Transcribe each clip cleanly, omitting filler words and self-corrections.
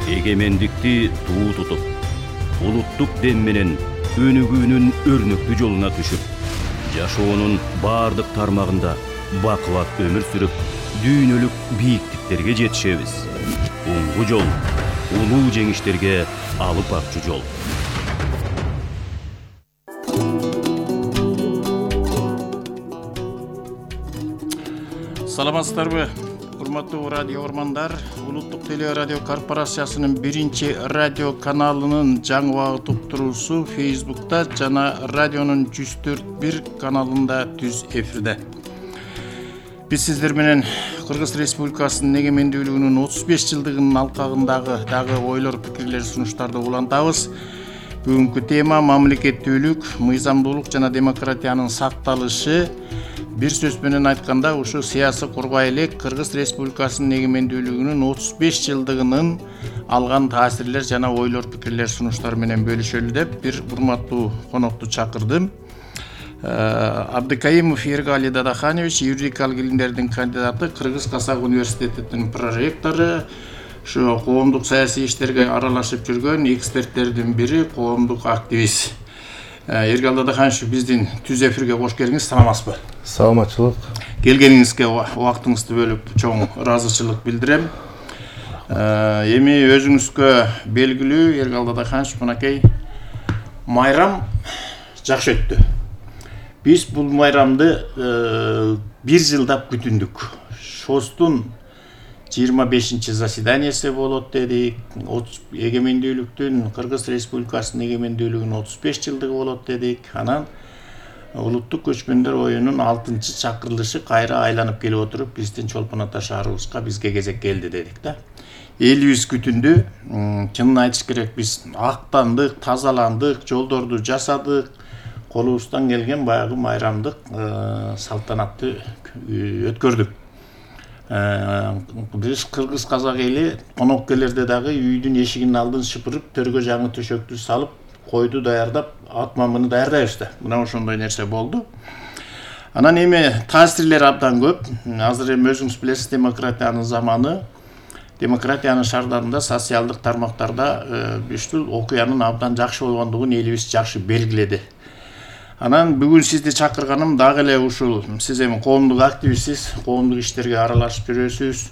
эгемендикти туу тутуп, улуттук дем менен өнүгүүнүн өрнөктүү жолуна түшүп, жашоонун бардык тармагында бакубат өмүр сүрүп, дүйнөлүк бийиктиктерге жетишебиз. Оңгу жол, улуу жеңиштерге алып барчу жол. Саламатсыздарбы, урматтуу радио урмандар. Улуттук теле радио корпорациясынын 1-радио каналынын жаңы убакыт уктуруусу Facebook'та жана радионун 104.1 каналында түз эфирде. Биз сиздер менен Кыргыз Республикасынын эгемендүүлүгүнүн 35 жылдыгынын алкагындагы дагы ойлор, пикирлер, сунуштарды улантабыз. Бүгүнкү тема мамлекеттүүлүк, мыйзамдуулук жана демократиянын сакталышы. Бир сөз менен айтканда, ушу саясий курбай элек Кыргыз Республикасынын эгемендүүлүгүнүн 35 жылдыгынын алган таасирлер жана ойлор, пикирлер, сунуштар менен бөлүшөлү деп бир урматтуу конокту чакырдым. Абдыкаимов Эргали Дадаханович, юридикалык илимдердин кандидаты, Кыргыз Казак университетинин проректору, ушу коомдук саясий иштерге аралашып жүргөн эксперттердин бири, коомдук активист. Эргали Дадаханович, биздин түз эфирге кош келиңиз, саламатсызбы? Саламатчылык. Келгениңизге убактыңызды бөлүп чоң ыраазычылык билдирем. Эми өзүңүзгө белгилүү, Эргали Дадаханович, мынакей майрам жакшы өттү. Биз бул майрамды бир жылдап күтүндүк. ШОСтун 25 заседаниясы болот дедик. Эгемендүүлүктүн, Кыргыз Республикасынын эгемендүүлүгүнүн 35 жылдыгы болот дедик. Анан улуттук көчмөндөр оюнун 6-чакырылышы кайра айланып келип отуруп, биздин Чолпон Ата шаарыбызга бизге кезек келди дедик да. Элибиз күтүндү. Чынын айтыш керек, биз актандык, тазаландык, жолдорду жасадык. Колубуздан келген баягы майрамдык салтанатты өткөрдүк. Биз Кыргыз казак эли конок келерде дагы үйдүн эшигинин алдын шыпырып, төргө жаңы төшөктү салып, койду даярдап, ат мамыны даярдайбыз да. Мына ошондой нерсе болду. Анан эми таасирлер абдан көп. Азыр эми өзүңүз билесиз, демократиянын заманы. Демократиянын шардарында, социалдык тармактарда ушул окуянын абдан жакшы болгондугун элибиз жакшы белгиледи. Анан бүгүн сизди чакырганым дагы эле ушул. Сиз эми коомдук активистсиз, коомдук иштерге аралашып жүрөсүз.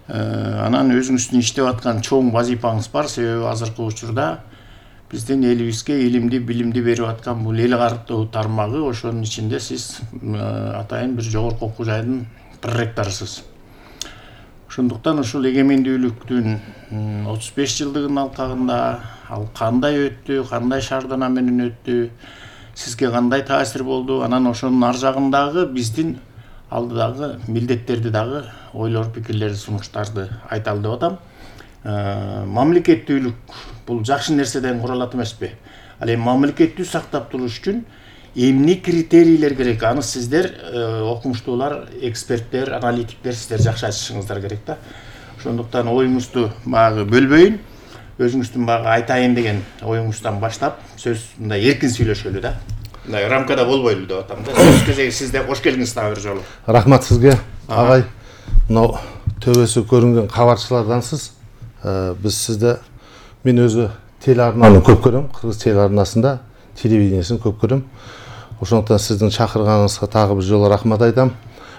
Анан өзүңүздүн иштеп аткан чоң вазифаңыз бар, себеби азыркы учурда биздин элибизге илимди, билимди берип аткан бул эл картуу тармагы, ошонун ичинде сиз атайын бир жогорку окуу жайдын проректорусуз. Ошондуктан ушул эгемендүүлүктүн 35 жылдыгынын алкагында ал кандай өттү, кандай шаардана менен өттү, сизге кандай таасир болду, анан ошонун ар жагындагы биздин алдыдагы милдеттерди дагы ойлор, пикирлер, сунуштарды айталы деп атам. Мамлекеттүүлүк бул жакшы нерседен куралат эмеспи? Ал эми мамлекеттүү сактап туруш үчүн эмне критерийлер керек? Аны сиздер окумуштуулар, эксперттер, аналитиктер сиздер жакшы айтышыңыздар керек да. Ошондуктан оюңузду багы бөлбөйүн, өзүңүздүн багы айтайын деген оюңуздан баштап, сөз мындай эркин сүйлөшөлү да. Мындай рамкада болбойлу деп атам да. Сөз кезеги сизде, кош келиңиз дагы бир жолу. Рахмат сизге, агай. Мына төбөсү көрүнгөн кабарчылардансыз. Биз сизде, мен өзү телеарнаны көп көрөм, Кыргыз телеарнасында телевидениесин көп көрөм. Ошондуктан сиздин чакырганыңызга дагы бир жолу рахмат айтам.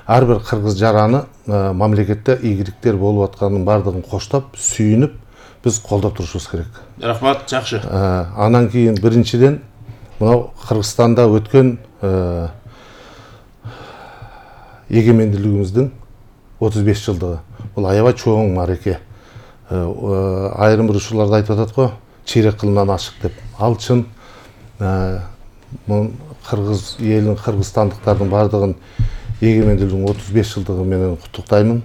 Ар бир кыргыз жараны мамлекетте ийгиликтер болуп атканын бардыгын коштоп, сүйүнүп, биз колдоп турушубуз керек. Рахмат, жакшы. Анан кийин биринчиден мына Кыргызстанда өткөн эгемендүүлүгүбүздүн 35 жылдыгы. Бул аябай чоң мареке. Айрым бир ушуларды айтып атат го, чейрек кылымдан ашык деп. Ал чын. Кыргыз элин, кыргызстандыктардын бардыгын эгемендүүлүгүнүн 35 жылдыгы менен куттуктаймын.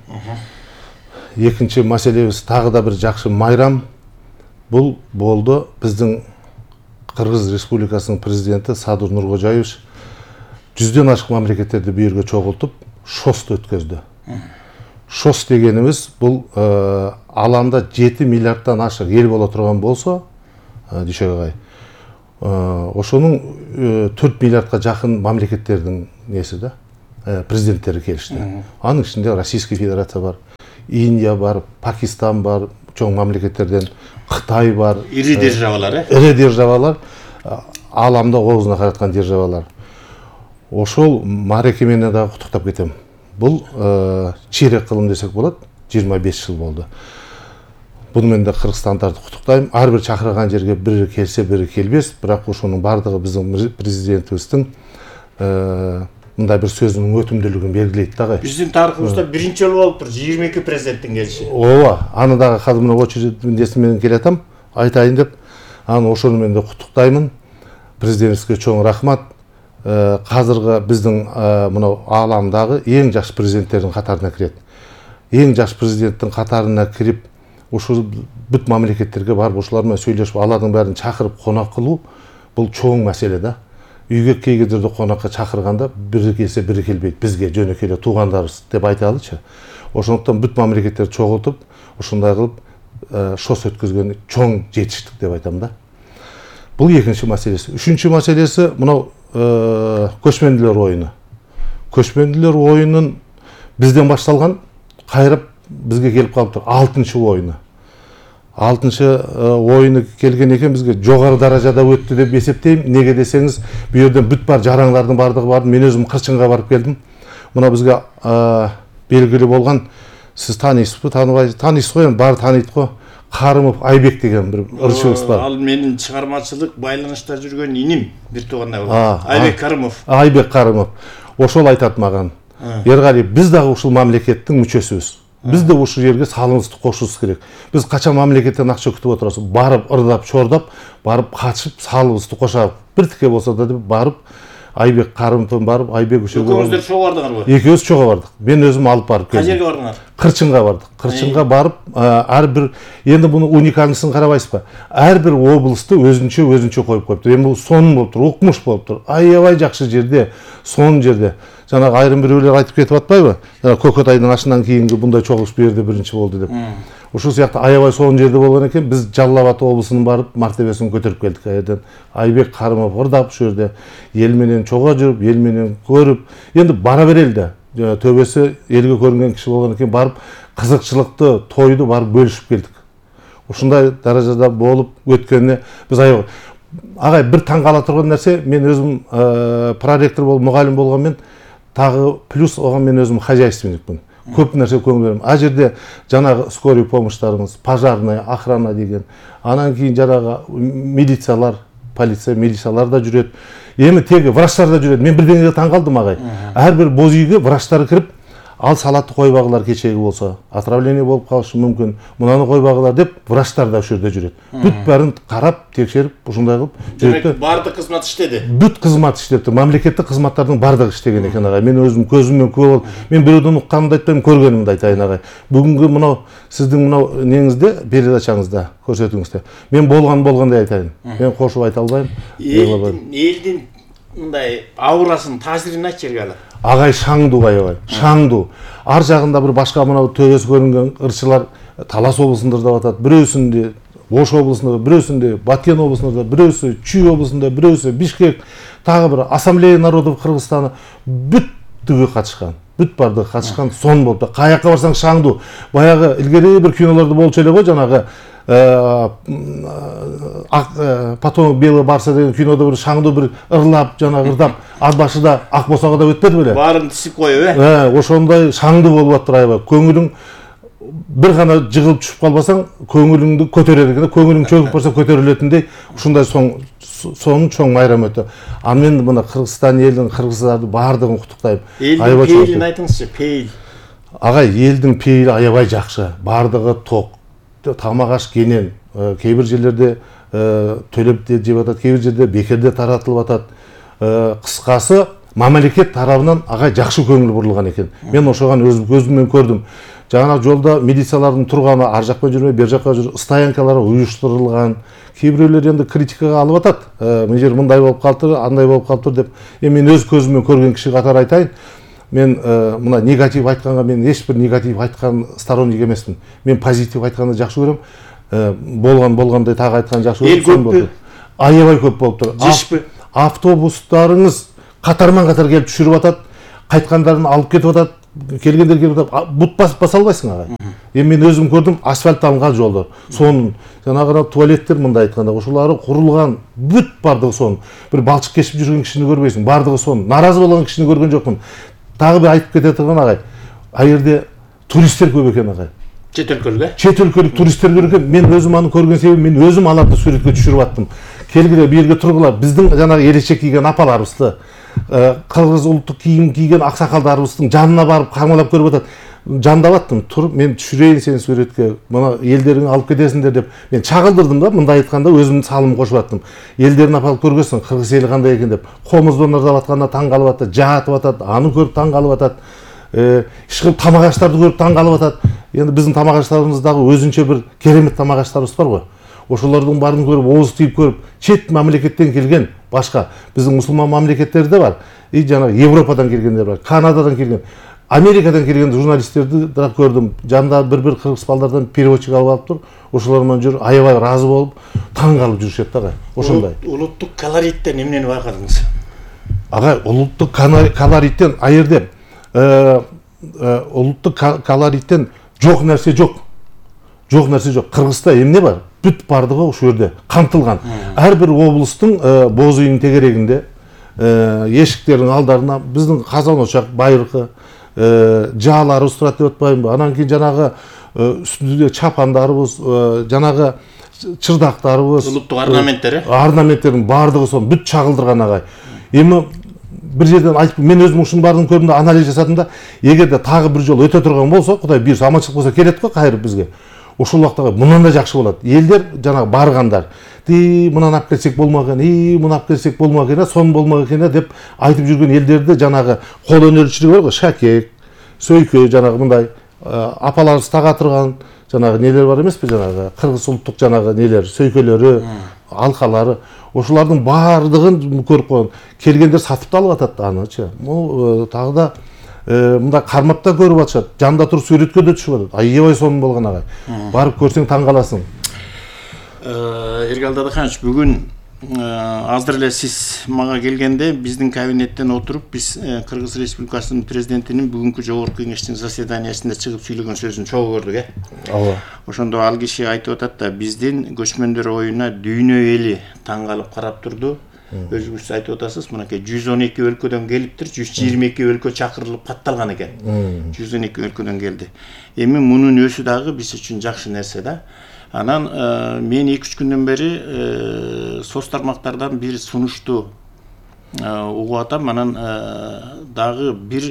Экинчи маселебиз дагы да бир жакшы майрам. Бул болду биздин Кыргыз Республикасынын президенти Садыр Нуркожаевич 100дөн ашык мамлекеттерди бу жерге чогултуп ШОСту өткөздү. ШОС дегенimiz бул аланда 7 миллиарддан ашык эл боло турган болсо, дүйшөгай. Ошонун 4 миллиардга жакын мамлекеттердин неси да, президенттери келишти. Анын ичинде Российская Федерация бар, Индия бар, Пакистан бар, чоң мамлекеттерден Кытай бар, ири державалар, ири державалар, ааламда оозуна караткан державалар. Ошол маареке менен дагы куттуктап кетем. Бул чейрек кылым десек болот, 25 жыл болду. Буну мен да кыргызстандарды куттуктайм. Ар бир чакырган жерге бири келсе, бири келбес, бирок ошонун бардыгы биздин президентибиздин мындай бир сөзүнүн өтүмдүүлүгүн белгилейт дагы. Биздин тарыхыбызда биринчи жолу болуптур 22 президенттин келиши. Ооба, аны дагы азыр мына очерединде менен келатам, айтайын деп. Аны ошону мен да куттуктаймын. Президентибизге чоң рахмат. Азыркы биздин мына ааламдагы эң жаш президенттердин катарына кирет. Эң жаш президенттин катарына кирип, ушул бүт мамлекеттерге барып ошолар менен сүйлөшүп, алардын баарын чакырып конок кылуу бул чоң маселе да. Үйгө кей кездерде конокко чакырганда бири келсе, бири келбейт. Бизге жөнөкөй эле туугандарыбыз деп айталычы. Ошондуктан бүт мамлекеттерди чогултуп, ушундай кылып шос өткөзгөн чоң жетиштик деп айтам да. Бул экинчи маселеси. Үчүнчү маселеси мынау көчмөндүлөр оюну. Көчмөндүлөр оюнун бизден башталган, кайрып бизге келип калыптыр. 6-чы оюну. 6-чы оюну келген экен, бизге жогору даражада өттү деп эсептейм. Неге десеңиз, бу жерден бүт бар жараңдардын бардыгы барды. Мен өзүм Кырчынга барып келдим. Мына бизге белгилүү болгон, сиз тааныйсызбы, тааныйсыз го, баары тааныйт го. Карымов Айбек деген бир ырчыбыз бар. Ал менин чыгармачылык байланышта жүргөн иним, бир туугандай болот. Айбек Карымов. Айбек Карымов. Ошол айтат маган. Эргали, биз дагы ушул мамлекеттин мүчөсүбүз. Биз да ушул жерге салымыбызды кошушубуз керек. Биз качан мамлекеттен акча күтүп отурабыз? Барып ырдап, чордап, барып качып салыбызды кошабыз. Бир тике болсо да деп барып Айбек Карымовдон барып, Айбек ушул экөөңүздөр чогуу бардыңарбы? Экөөбүз чогуу бардык. Мен өзүм алып барып келдим. Кай жерге бардыңар? Кырчынга бардык. Кырчынга барып, ар бир эndi буну уникальнысын карабайсызбы? Ар бир облусту өзүнчө коюп коюптур. Эми бул сонун болуптур, укмуш болуптур. Аябай жакшы жерде, сонун жерде. Жанагы айрым бирөөлөр айтып кетип атпайбы? Көкөтайдын ашынан кийинки мындай чогулуш бу жерде биринчи болду деп. Ушул сыяктуу аябай сонун жерде болгон экен. Биз Жалал Абад облусунун барып мартебесин көтөрүп келдик аерден. Айбек Карымов ырдап ушул жерде эл менен чогуу жүрүп, эл менен көрүп, эndi бара берели да. Төбөсү элге көрүнгөн киши болгон экен, барып кызыкчылыкты, тойду барып бөлүшүп келдик. Ушундай даражада болуп өткөнүнө биз аябай агай бир таң кала турган нерсе, мен өзүм проректор болуп, мугалим болгон мен тагы плюс оган мен өзүм хозяйственникмин. Көп нерсе көңүл берем. А жерде жанагы скорый помощьтарыңыз, пожарная, охрана деген, анан кийин жанагы милициялар, полиция, милициялар да жүрөт. Эми теги врачтар да жүрөт. Мен бирдеңеге таң калдым агай. Ар бир боз үйгө врачтар кирип, ал салатты койбагылар кечеги болсо, отравление болуп калышы мүмкүн. Мунаны койбагылар деп врачтар да ушул жерде жүрөт. Бүт барын карап, текшерип, ушундай кылып жүрөт. Бардык кызмат иштеди. Бүт кызмат иштептир. Мамлекеттик кызматтардын бардыгы иштеген экен агай. Мен өзүм көзүмөн күбө болуп, мен бирөөдөн укканымды айтпайм, көргөнүмдү айтайын агай. Бүгүнкү мынау сиздин мынау неңизде, передачаңызда көрсөтүңүздө. Мен болгондой айтайын. Мен кошуп айта албайм. Элдин мындай аурасын, таасирин айтчы Эргали. Агай шаңдуу аябай, шаңдуу. Ар жагында бир башка мына төбөсү көрүнгөн ырчылар Талас облусунда ырдап атат, бирөөсүндө Ош облусунда, бирөөсүндө Баткен облусунда, бирөөсү Чүй облусунда, бирөөсү Бишкек, тагы бир Ассамблея народов Кыргызстана бүттүгү катышкан. Бүт бардыгы катышкан, сон болуп. Каякка барсаң шаңдуу. Баягы илгери бир кинолордо болчу эле го, жанагы потом белый барса деген кинодо бир шаңдуу бир ырлап, жанагы ырдап, ар башыда ак босого да өтпөдү беле? Баарын тисип коюп, ошондой шаңдуу болуп аттыр аябай. Көңүлүң бир гана жыгылып түшүп калбасаң, көңүлүңдү көтөрөр экен, көңүлүң чөгүп барса көтөрүлөтүндөй, ушундай сонун чоң майрам өтө. Аны мен мына Кыргызстан элин, кыргыздарды баардыгын куттуктайм. Элдин пейилин айтыңызчы, пейил. Агай, элдин пейили аябай жакшы. Баардыгы ток. Тамак аш кенен, кээ бир жерлерде төлөп жеп атат, кээ бир жерде бекерде таратылып атат. Кыскасы, мамлекет тарабынан агай жакшы көңүл бурулган экен. Мен ошогон көзүм менен көрдүм. Жана жолда милициялардын турганы, ар жакка жүрмөй, бер жакка жүрүп, стоянкалар уюштурулган. Кээ бирөөлөр энд критикага алып атат. Мына жер мындай болуп калыптыр, андай болуп калыптыр деп. Мен өз көзүм менен көргөн киши катары айтайын. Мен мына негатив айтканга мен эч бир негатив айткан сторонник эмесмин. Мен позитив айтканды жакшы көрөм. Болгондой так айтканды жакшы көрөм. Эл көппү? Аябай көп болуптур. Жишпи? Автобустарыңыз катарман катар келип түшүрүп атат. Кайткандарын алып кетип атат. келгендер келип бут баса албайсың агай. Эми мен өзүм көрдүм асфальтталган жолдор. Сонун жанагы туалеттер мындай айтканда ошолары курулган бүт бардыгы сонун. Бир балчык кешип жүргөн кишини көрбөйсүң, бардыгы сонун. Наразы болгон кишини көргөн жокмун. Дагы бир айтып кете турган агай. Ал жерде туристтер көп экен агай. Чет өлкөлүк Чет өлкөлүк туристтер көп экен. Мен өзүм аны көргөн себебим мен өзүм аларды сүрөткө түшүрүп аттым. Келгиле бу жерге тургула. Биздин жанагы элечек кийген апаларыбызды, кыргыз улуттук кийим кийген аксакалдарыбыздын жанына барып камалап көрүп атат. Жандап аттым. Туруп мен түшүрөйүн сени сүрөткө. Мына элдериңи алып кетесиңдер деп мен чагылдырдым да, мындай айтканда өзүмдүн салымымды кошуп аттым. Элдерин апалып көргөсүң, кыргыз эли кандай экен деп. Комуздон ырдап атканда таң калып атат, жаатып атат, аны көрүп таң калып атат. Ишкыл тамак аштарды көрүп таң калып атат. Эndi биздин тамак аштарыбыз дагы өзүнчө бир керемет тамак аштарыбыз бар го. Ошолордун баарын көрүп, ооз тийип көрүп, чет мамлекеттен келген башка биздин мусулман мамлекеттерде да бар. Жанагы Европадан келгендер бар, Канададан келген, Америкадан келген журналисттерди да көрдүм. Жанында бир кыргыз балдардан переводчик алып тур. Ошолор менен жүрүп, аябай ыраазы болуп, таң калып жүрүшөт да. Ошондой. Улуттук колориттен эмнени байкадыңыз? Агай, улуттук колориттен а жерде улуттук колориттен жок нерсе жок. Жок нерсе жок. Кыргызда эмне бар? Бүт бардыгы ошол жерде камтылган. Ар бир облустун боз үйүнүн тегерегинде, эшиктердин алдарына биздин казан очак, байыркы жааларыбыз турат деп атпаймынбы? Анан кийин жанагы үстүндө чапандарыбыз, жанагы чырдактарыбыз, улуттук орнаменттердин бардыгы сонун бүт чагылдырган агай. Эми бир жерден айтып, мен өзүм ушунун баарын көрдүм да, анализ жасадым да, эгерде тагы бир жолу өтө турган болсо, Кудай буйрса аманчылык болсо келет го кайрып бизге. Ошол убакта мындан да жакшы болот. Элдер жанагы баргандар, мынаны алып келсек болмок экен, муну алып келсек болмок экен, сонун болмок экен деп айтып жүргөн элдерди жанагы кол өнөрчүлүгү бар го, шакек, сөйкө, жанагы мындай апаларыбыз тага турган жанагы нелер бар эмеспи, жанагы кыргыз улуттук жанагы нелер, сөйкөлөрү, алкалары, ошолордун баардыгын көрүп койгон. Келгендер сатып да алып атат анычы. Могу тагы да мындай кармап да көрүп атышат. Жанында туруп сүрөткө да түшүп атат. Аябай сонун болгон агай. Барып көрсөң таң каласың. Эргал Дадаханович, бүгүн азыр эле сиз мага келгенде биздин кабинеттен отуруп биз Кыргыз Республикасынын президентинин бүгүнкү жогорку кеңештин заседаниясында чыгып сүйлөгөн сөзүн чогуу көрдүк, Ооба. Ошондо ал киши айтып атат да, биздин көчмөндөр оюна дүйнө эли таң калып карап турду. Өзүңүз айтып атасыз, мынакей 112 өлкөдөн келиптир, 122 өлкө чакырылып катталган экен. 112 өлкөдөн келди. Эми мунун өзү дагы биз үчүн жакшы нерсе да. Анан мен 2-3 күндөн бери соц тармактардан бир сунушту угуп атам. Анан дагы бир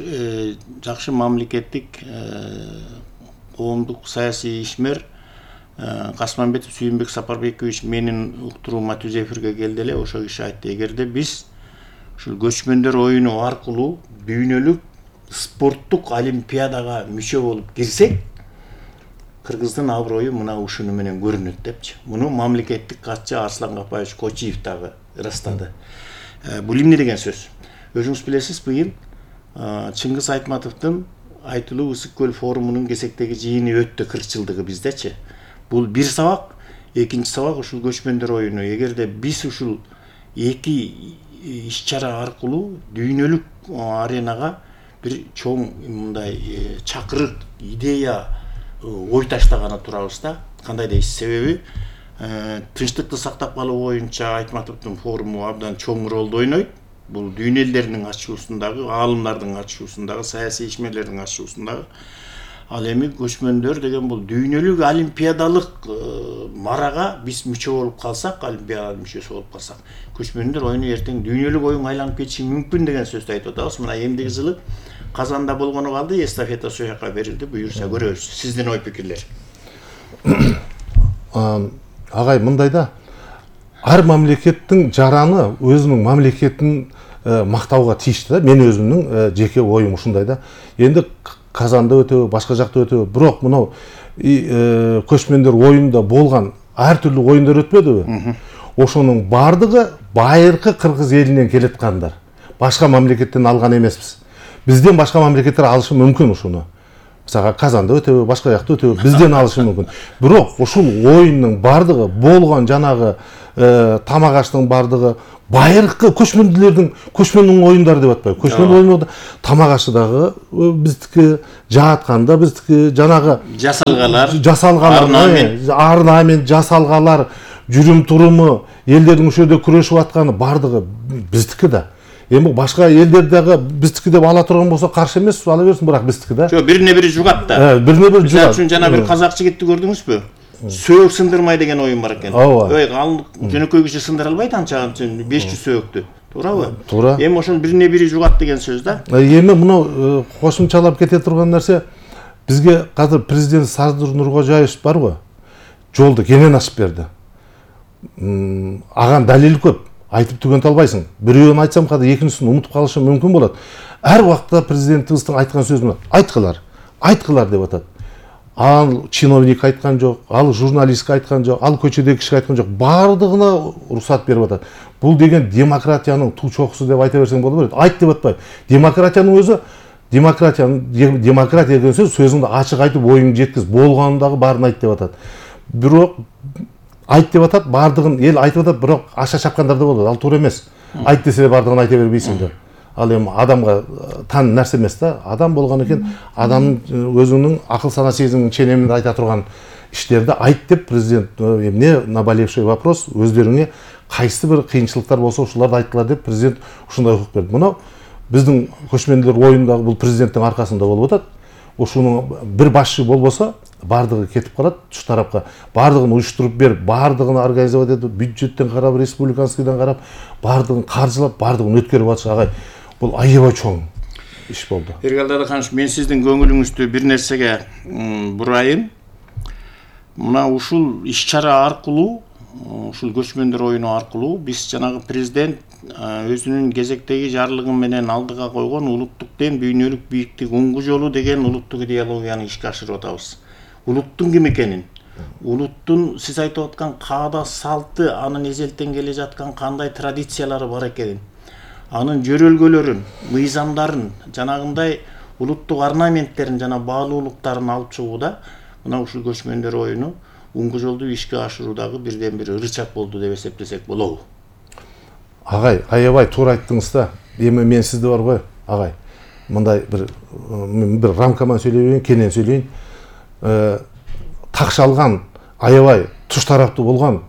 жакшы мамлекеттик коомдук саясий ишмер Касманбетов Сүйүнбек Сапарбекович менин уктуруума түз эфирге келди эле. Ошол киши айтты, эгерде биз ушул көчмөндөр оюну аркылуу дүйнөлүк спорттук олимпиадага мүчө болуп кирсек, Кыргыздын аброю мына ушуну менен көрүнөт депчи. Муну мамлекеттик катчы Арслан Капаевич Кочиев дагы ырастады. Бул эмне деген сөз? Өзүңүз билесиз, быйыл Чыңгыз Айтматовдун Айтылуу Ысык көл форумунун кесектеги жыйыны өттү, 40 жылдыгы биздечи. Бул бир сабак, экинчи сабак ушул көчмөндөр оюну. Эгерде биз ушул эки иш-чара аркылуу дүйнөлүк аренага бир чоң мындай чакырык, идея ой таштаганы турабыз да. Кандай дейсиз? Себеби тынчтыкты сактап калуу боюнча Айтматовдун форуму абдан чоң ролду ойнойт. Бул дүйнө элдеринин ачуусундагы, аалымдардын ачуусундагы, саясий ишмерлердин ачуусундагы. Ал эми көчмөндөр деген бул дүйнөлүк олимпиадалык марага биз мүчө болуп калсак, олимпиада мүчөсү болуп калсак, көчмөндөр оюну эртең дүйнөлүк оюнга айланып кетиши мүмкүн деген сөздү айтып атабыз. Мына эмдиги жылы Казанда болгону калды, эстафета ошол жака берилди. Буюрса көрөбүз. Сиздин ой пикирлер? Агай, мындай да, ар мамлекеттин жараны өзүнүн мамлекетин мактауга тийиштүү да. Мен өзүмдүн жеке оюм ушундай да. Энди Казанда өтөбү, башка жакта өтөбү, бирок мына көчмөндөр оюнда болгон ар түрлүү оюндар өтпөдүбү? Ошонун бардыгы байыркы кыргыз элинен келаткандар. Башка мамлекеттен алган эмеспиз. Бизден башка мамлекеттер алышы мүмкүн ушуну. мисалга Казанда өтөбү, башка жакта өтөбү, бизден алышы мүмкүн. Бирок ушул оюндун бардыгы болгон жанагы тамак аштын бардыгы байыркы көчмөндүн оюндары деп атпайбы. Көчмөн оюнда тамак ашы дагы биздики, жаатканда биздики, жанагы жасалгалар, орнамент жасалгалар, жүрүм туруму, элдердин ошол жерде күрөшүп атканы бардыгы биздики да. Эми башка элдер дагы биздики деп ала турган болсо каршы эмес, ала берсин, бирок биздики да. Жок, бирине бири жугат да. Бирине бири жугат. Мисалы үчүн жана бир казак жигитти көрдүңүзбү? Сөөк сындырмай деген оюн бар экен. Ой, жөнөкөй киши сындыра албайт анча 500 сөөктү. Туурабы? Туура. Эми ошол бирине бири жугат деген сөз да. Эми муну кошумчалап кете турган нерсе, бизге азыр президент Садыр Нуркожаевич барбы? Жолду кенен ачып берди. Аган далил көп. Айтып түгөнтө албайсың. Бирөөнү айтсам када экинчисин унутуп калышым мүмкүн болот. Ар убакта президентибиздин айткан сөзү айткылар деп атат. Ал чиновник айткан жок, ал журналист айткан жок, ал көчөдөгү киши айткан жок. Бардыгына уруксат берип атат. Бул деген демократиянын туу чокусу деп айта берсең боло берет. Айт деп атпайбы. Демократиянын өзү, демократия деген сөзүңдү ачык айтып, оюңду жеткиз, болгонун дагы баарын айт деп атат. Бирок айт деп атат, бардыгын эл айтып атат, бирок аша чапкандар да болот. Ал туура эмес. Айт десе бардыгын айта бербейсиң да. Ал эми адамга тан нерсе эмес да. Адам болгон экен, адамдын өзүнүн акыл сана сезимин ченеминде айта турган иштерди айт деп президент эмне наболевший вопрос өздөрүңө кайсы бир кыйынчылыктар болсо ушуларды айткылар деп президент ушундай укук берди. Мына биздин көчмөндөр оюндагы бул президенттин аркасында болуп атат. Ушунун бир башчы болбосо бардыгы кетип калат туш тарапка. Бардыгын уюштуруп берип, бардыгын организовать этип, бюджеттен карап, республиканскийден карап, бардыгын каржылап, бардыгын өткөрүп атыш агай. Бул аябай чоң иш болду. Эргал Дадыканович, мен сиздин көңүлүңүздү бир нерсеге бурайын. Мына ушул иш-чара аркылуу, ушул көчмөндөр оюну аркылуу биз жанагы президент өзүнүн кезектеги жарлыгы менен алдыга койгон улуттук дем, дүйнөлүк бийиктик уңгу жолу деген улуттук идеологияны ишке ашырып атабыз. Улуттун ким экенин, улуттун сиз айтып аткан каада салты, анын эзелтен келе жаткан кандай традициялары бар экенин, анын жөрөлгөлөрүн, мыйзамдарын, жанагындай улуттук орнаменттерин жана баалуулуктарын алып чыгууда мына ушул көчмөндөр оюну уңгу жолду ишке ашыруудагы бирден бир ырычак болду деп эсептесек болобу? Агай, аябай туура айттыңыз да. Эми мен сизди бар го, агай. Мындай бир рамкаман сүйлөйбөйүн, кенен сүйлөйүн. Такшалган, аябай туш тараптуу болгон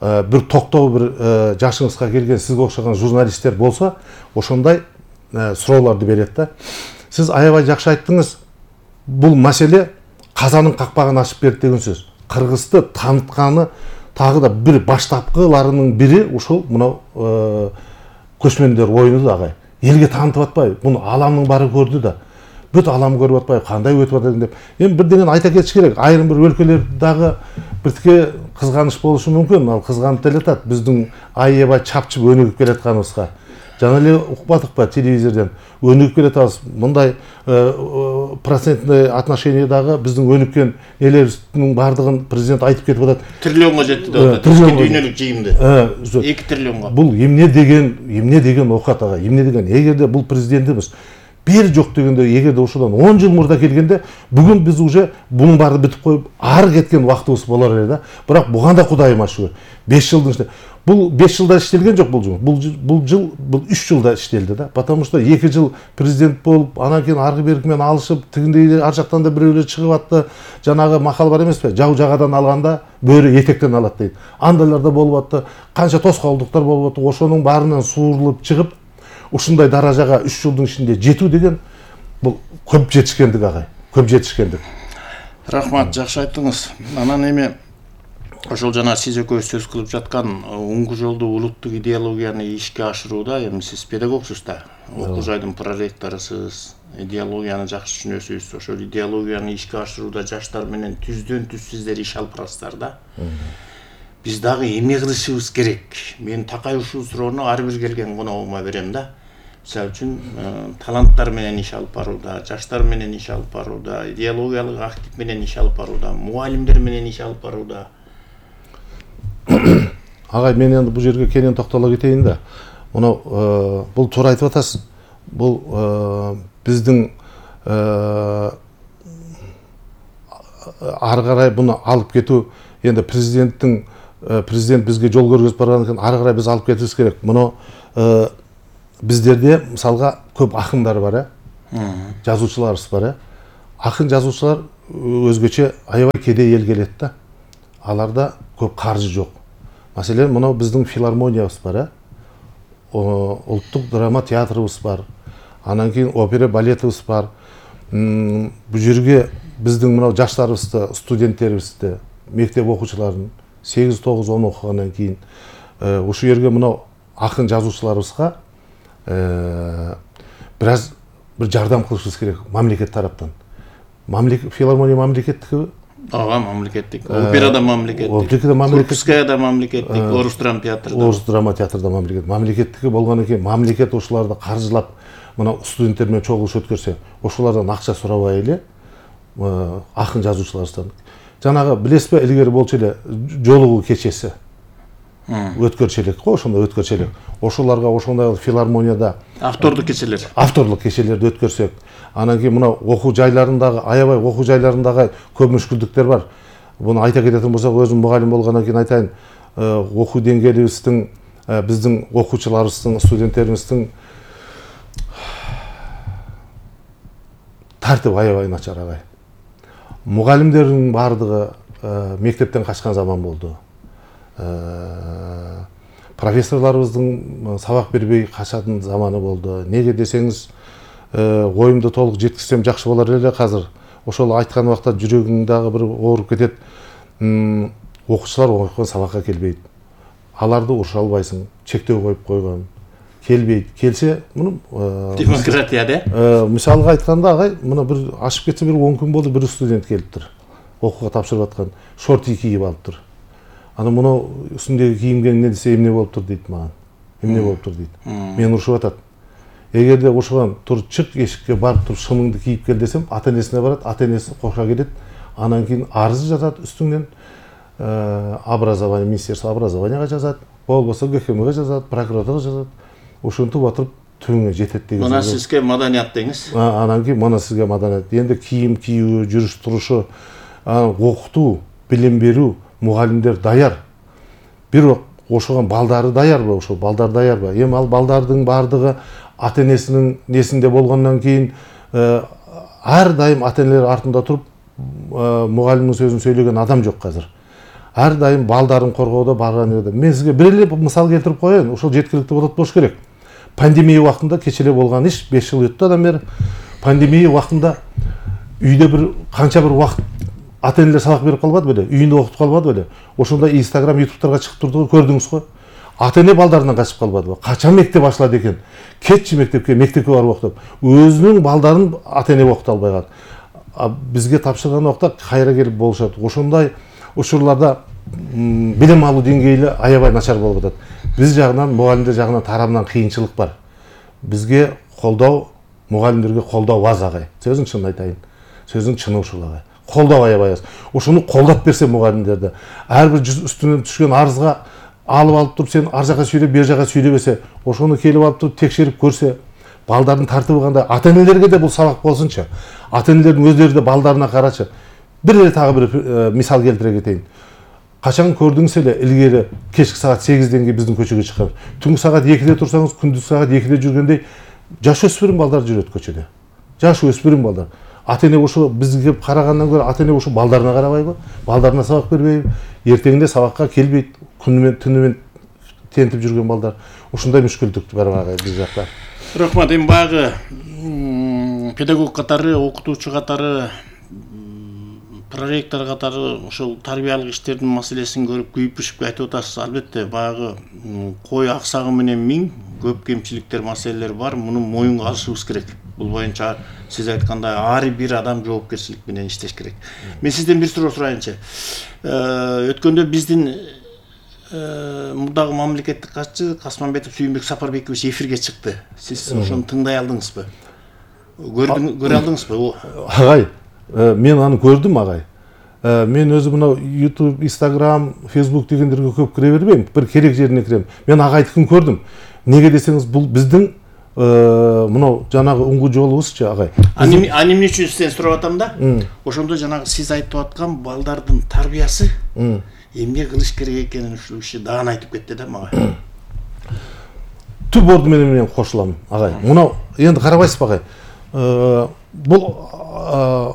бир токтоо бир жашыңызга келген сизге окшогон журналисттер болсо, ошондой суроолорду берет да. Сиз аябай жакшы айттыңыз. Бул маселе казанын какпагын ачып берди деген сөз. Кыргызды танытканы тагы да бир баштапкыларынын бири ушул мына көчмөндөр оюну да агай. Элге таанытып атпайбы? Муну аламдын баары көрдү да. Бүт алам көрүп атпайбы? Кандай өтүп атат деп. Эми бирден айта кетиш керек. Айрым бир өлкөлөрдө дагы биртике кызганыч болушу мүмкүн. Ал кызганып делатат биздин аябай чапчып өнүгүп келатканыбызга. Жана эле укпадыкпы телевизордон өнүгүп келатабыз. Мындай процентный отношениядагы биздин өнүккөн элерибиздин бардыгын президент айтып кетип атат. Триллионго жетти деп атат. Дүйнөлүк жыйымды. 2 триллионго. Бул эмне деген окат ага. Эмне деген эгерде бул президентибиз бери жок дегенде, эгерде ушудан 10 жыл мурда келгенде, бүгүн биз уже бунун баарын бүтүп коюп, ары кеткен убактыбыз болор эле да. Бирок буга да Кудайыма шүгүр. 5 жылдын ичинде бул 5 жылда иштелген жок бул жыл. Бул 3 жылда иштелди да. Потому что 2 жыл президент болуп, анан кийин аргы берки менен алышып, тигиндей ар жактан да бирөөлөр чыгып атты. Жанагы макал бар эмеспи? Жау жагадан алганда бөрү этектен алат дейт. Андайлар да болуп атты. Канча тоскоолдуктар болуп атты. Ошонун баарынан суурулуп чыгып, ушундай даражага 3 жылдын ичинде жетүү деген бул көп жетишкендик агай. Көп жетишкендик. Рахмат, жакшы айттыңыз. Анан эми ошол жана сиз экөөбүз сөз кылып жаткан уңгу жолду улуттук идеологияны ишке ашырууда эми сиз педагогсуз да. Окуу жайдын проректорусуз, идеологияны жакшы түшүнөсүз. Ошол идеологияны ишке ашырууда жаштар менен түздөн түз сиздер иш алып барасыздар да. Биз дагы эмне кылышыбыз керек? Мен такай ушул суроону ар бир келген коногума берем да. Мисалы үчүн таланттар менен иш алып барууда, жаштар менен иш алып барууда, идеологиялык актив менен иш алып барууда, мугалимдер менен иш алып барууда. Агай, мен эми бул жерге кенен токтоло кетейин да. Мына бул туура айтып атасыз. Бул биздин ары карай буну алып кетүү енді президент бизге жол көргөзүп барган экен, ары карай биз алып кетишибиз керек. Муну биздерде мисалга көп акындар бар, жазуучуларыбыз бар. Акын жазуучулар өзгөчө аябай кедей эл келет да. Аларда көп каржы жок. Маселен, мына биздин филармониябыз бар, улуттук драма театрыбыз бар, анан кийин опера балетибиз бар. Бул жерге биздин мына жаштарыбызды, студенттерибизди, мектеп окуучуларын 8-9-10 окугандан кийин ушул жерге мына акын жазуучуларыбызга бир жардам кылышыбыз керек мамлекет тараптан. Филармония мамлекеттики? Ага, мамлекеттик. Операда мамлекеттик. Курбскаяда мамлекеттик, Орус драма театрда. Орус драма театрда мамлекет. Мамлекеттики болгондон кийин мамлекет ошоларды каржылап, мына студенттер менен чогулуш өткөрсө, ошолордон акча сурабай эле акын жазуучуларыбыздан. Жанагы билесизби, илгери болчу эле жолугуу кечеси. Өткөрчү элек го, ошондой өткөрчү элек. Ошолорго ошондой филармонияда автордук кечелерди өткөрсөк, анан кийин мына окуу жайларындагы, аябай окуу жайларындагы көп мүшкүлдүктөр бар. Буну айта кететін болсак, өзүм мугалим болгондон кийин айтайын, окуу деңгээлибиздин, биздин окуучуларыбыздын, студенттерибиздин тартип аябай начар агай. Мугалимдердин бардыгы мектептен качкан заман болду. Профессорларыбыздын сабак бербей качатын заманы болду. Неге десеңиз, оюмду толук жеткизсем жакшы болор эле азыр. Ошол айткан убакта жүрөгүң дагы бир ооруп кетет. Окуучулар окуган сабакка келбейт. Аларды уруша албайсың, чектөө коюп койгон. Келбейт. Келсе, муну демократия де. Мисалга айтканда, агай, мына бир ашып кетсе бир 10 күн болду, бир студент келиптир. Окууга тапшырып аткан, шорти кийип алыптыр. Аны муну үстүндөгү кийимге эмне десе эмне болуптур дейт мага. Эмне болуптур дейт. Мен урушуп атат. Эгерде ошогон тур чык эшикке барып туруп шымыңды кийип кел десем, ата-энесине барат, ата-энеси коша келет. Анан кийин арыз жазат үстүңнөн, образование, министерство образованияга жазат, болбосо ГХМга жазат, прокуратурага жазат. Ошентип атып түбүнгө жетет деген. Мына сизге маданият деңиз. Анан кийин мына сизге маданият. Энди кийим кийүү, жүрүш турушу, окутуу, билим берүү, мугалимдер даяр. Бирок ошого балдары даярбы, ошол балдар даярбы? Эми ал балдардын бардыгы ата-энесинин несинде болгондон кийин ар дайым ата-энелер артында туруп мугалимдин сөзүн сөйлөгөн адам жок азыр. Ар дайым балдарын коргоодо барган жерде. Мен сизге бир эле мисал келтирип коеюн, ошол жеткиликтүү болот болуш керек. Пандемия убактында кече эле болгон иш, 5 жыл өттү адан бери. Пандемия убактында үйдө бир канча бир убакыт ата-энелер сабак берип калбады беле, үйүндө окутуп калбады беле. Ошондо Instagram, YouTube'тарга чыгып турду, көрдүңүз го. Ата-эне балдарынан качып калбадыбы? Качан мектеп ачылат экен? Кетчи мектепке барып окутуп. Өзүнүн балдарын ата-эне окута албай калат. Бизге тапшырган убакта кайра келип болушат. Ошондой учурларда билим алуу деңгээли аябай начар болуп атат. Биз жагынан, мугалимдер жагынан тарабынан кыйынчылык бар. Бизге колдоо, мугалимдерге колдоо аз агай. Сөзүн чынын айтайын. Сөзүн чыны ушул агай. Колдоо аябай аз. Ошону колдоп берсе мугалимдерди, ар бир үстүнөн түшкөн арызга алып туруп сен ар жака сүйлөп, бер жака сүйлөбөсө, ошону келип алып туруп текшерип көрсө, балдардын тартыбы кандай, ата-энелерге да бул сабак болсунчу. Ата-энелердин өздөрү да балдарына карачы. Бир эле тагы бир мисал келтире кетейин. Качан көрдүңүз эле илгери кечки саат 8ден кийин биздин көчөгө чыккан. Түнкү саат 2де турсаңыз, күндүз саат 2де жүргөндөй жаш өспүрүм балдар жүрөт көчөдө. Жаш өспүрүм балдар. Ата-эне ошо бизге карагандан көрө ата-эне ошо балдарына карабайбы? Балдарына сабак бербейби? Эртеңинде сабакка келбейт, күнү менен түнү менен тентип жүргөн балдар. Ушундай мүшкүлдүк бар ага биз жакта. Рахмат, эми багы педагог катары, окутуучу катары, проректор катары ошол тарбиялык иштердин маселесин көрүп күйүп-пишип айтып атасыз. Албетте багы кой аксагы менен миң көп кемчиликтер, маселелер бар. Муну моюнга алышыбыз керек. Бул боюнча сиз айткандай ар бир адам жоопкерчилик менен иштеш керек. Мен сизден бир суроо сурайынчы. Өткөндө биздин мурдагы мамлекеттик катчы Касманбетов Сүйүнбек Сапарбекович эфирге чыкты. Сиз ошону тыңдай алдыңызбы? Көрө алдыңызбы? Агай, мен аны көрдүм агай. Мен өзүм мына YouTube, Instagram, Facebook дегендерге көп кире бербейм. Бир керек жерине кирем. Мен агайдыкын көрдүм. Неге десеңиз, бул биздин мынау жанагы уңгу жолубузчу агай. Эмне үчүн сизден сурап атам да? Ошондо жанагы сиз айтып аткан балдардын тарбиясы эмне кылыш керек экенин ушул киши даан айтып кетти да мага. Түп орду менен кошулам агай. Мынау енді карабайсызбы агай? Бул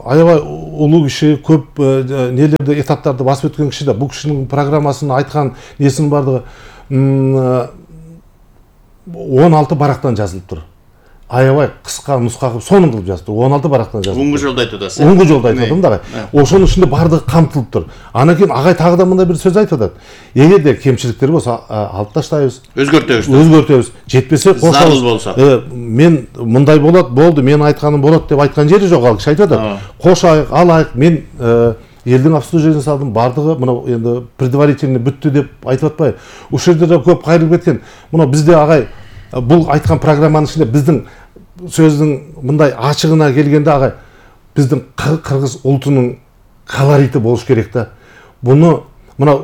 аябай улуу киши, көп нелерди, этаптарды басып өткөн киши да. Бул кишинин программасын айткан несинин бардыгы 16 барактан жазылып тур. Аябай кыска нуска кылып сонун кылып жазып тур. 16 барактан жазылып. Уңгу жолдо айтып атасыз. Уңгу жолдо айтып атам да. Ошонун ичинде бардыгы камтылып тур. Анан кийин агай тагы да мындай бир сөз айтып атат. Эгерде кемчиликтер болсо алып таштайбыз. Өзгөртөбүз. Жетпесе кошобуз. Мен мындай болот, болду, мен айтканым болот деп айткан жери жок, ал киши айтып атат. Кошайык, алайык, мен элдин обслуживаниесин салдым, бардыгы мына енді предварительно бүттү деп айтып атпайбы. Ушул жерде да көп кайрылып кеткен. Мына бизде агай бул айткан программанын ичинде биздин сөздүн мындай ачыгына келгенде агай, биздин кыргыз улутунун колорити болуш керек да. Буну мына